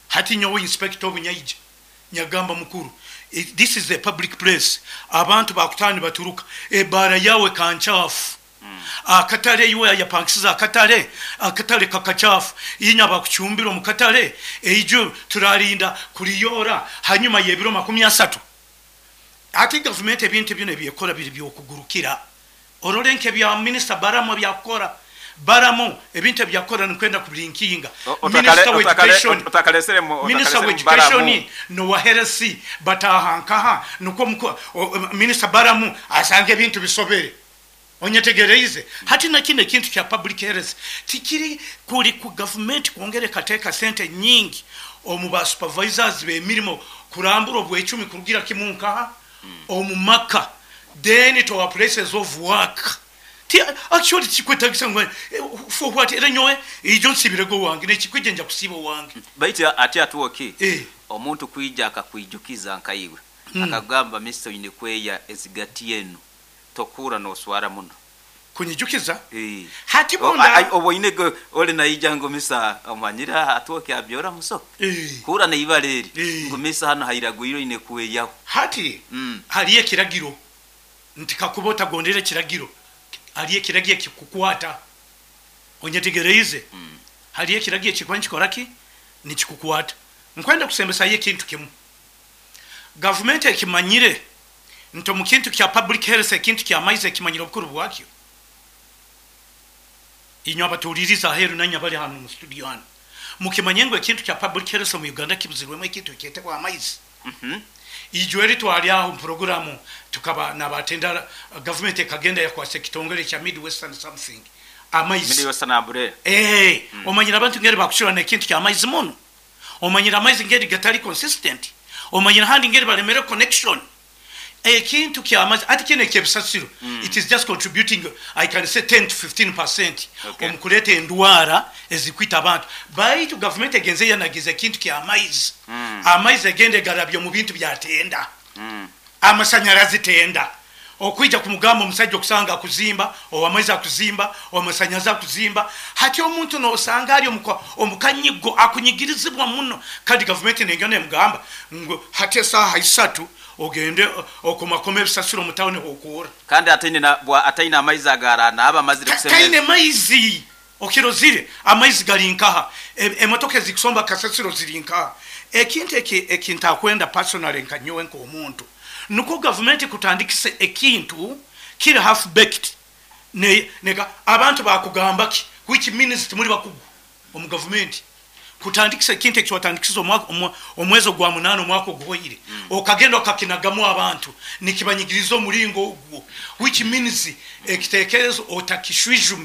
Hati nyowe inspector obunyaija nyagamba mukuru, this is a public place, abantu bakutana nibaturuka, ebaara yawe kanchafu, akatale iwe yapangisiza akatale, akatale kakachafu, inya bakuchumbira omu katale, eijo turarinda kuliyora hanyuma y'ebiro 30. Hati gavumenti ebintu bino ebyekora biri byokugurukira. Orole nk'ebya minisita Baramu ebyakukora, Baramu ebintu ebyakukora nikwenda kubirinkinga. Minister wa education nowa health bataha nkaha, nukwo minisita Baramu asanga ebintu bisobere. Onyetegereize? Hati nakino ekintu kya public health tikiri kuri ku gavumenti kwongera ekateeka sente nyingi omu ba supervisors b'emirimo kurambura obwecumi kurugira kimu nkaha omu maka, then to our places of work. Actually tikikwetagisa ngu for what, era nyowe ijo nsibirego wange nekikwija nja kusiba wange. Baitu ati atuoki omuntu kwija akakwijukiza nkaiwe akagamba mister oyine kweya ezigati enu tokura noswara muno. Kunyijukiza? Hati bunda oboine ole naija ngo misa omanyira atuoki abyora muso. Kura neibale eri ngo misa hano hairagwiro ine kweyaho. Hati hali ekiragiro nti kakuba otagondera ekiragiro, hali ekiragiro ekikukwata. Onyetegereize? Hali ekiragiro ekikuba nikikora ki? Nikikukwata. Nkwenda kusembesayo ekintu kimu. Gavumenti ekimanyire nti omu kintu kya public health, ekintu kya maizi ekimanyire obukuru bwakyo. Inywe abatuuliriza aheeru nanye abali hano mu studio hano, mukimanye ngu ekintu kya public health omu Uganda kibuzirwemu ekintu ekyetebwa amaizi. Ijo eri twali aho mu programu tukaba nabatenda gavumenti ekagenda yakwasa ekitongole kya Midwestern something amaizi. Midwestern Umbrella. Omanyire abantu ngeri bakushura n'ekintu kya amaizi muno. Omanyire amaizi ngeri gatali consistent. Omanyire handi ngeri balemere connection. Ekintu kya amaizi ati kino ekyebisasiro, it is just contributing, I can say 10 to 15% omukuleta endwara ezikwita abantu. Baitu gavumenti egenze yanagiza ekintu kya amaizi. Amaizi egende garabye mu bintu byatenda. Amasanyarazi tenda. Okwija kumugamba omusajja okusanga akuzimba, owamaizi akuzimba, owamasanyalazi akuzimba. Hati omuntu nosanga ali omukanyigo, akunyigirizibwa muno, kandi gavumenti nengenda nemugamba ngu hati esaaha 3 ogende okomakoma ebisasiro mu tawuni hokuura. Kandi ataine amaizi agaranaaba amazire kusemeza. Taine maizi. Okirozire amaizi gali nkaha, emotoka ezikusomba kasasiro ziri nkaha. Ekintu eki ntakwenda personally nka nyowe nk'omuntu, nukwo gavumenti kutandikisa ekintu kiri half baked, nega abantu bakugamba ki, which means timuli bakugu omu gavumenti kutandikisa ekintu eki watandikisa omwezi ogwa 8 omwaka oguhoire, okagenda okakinagamu abantu nikibanyigiriza omulingo ogwo, which means ekitekerezo otakishwijume.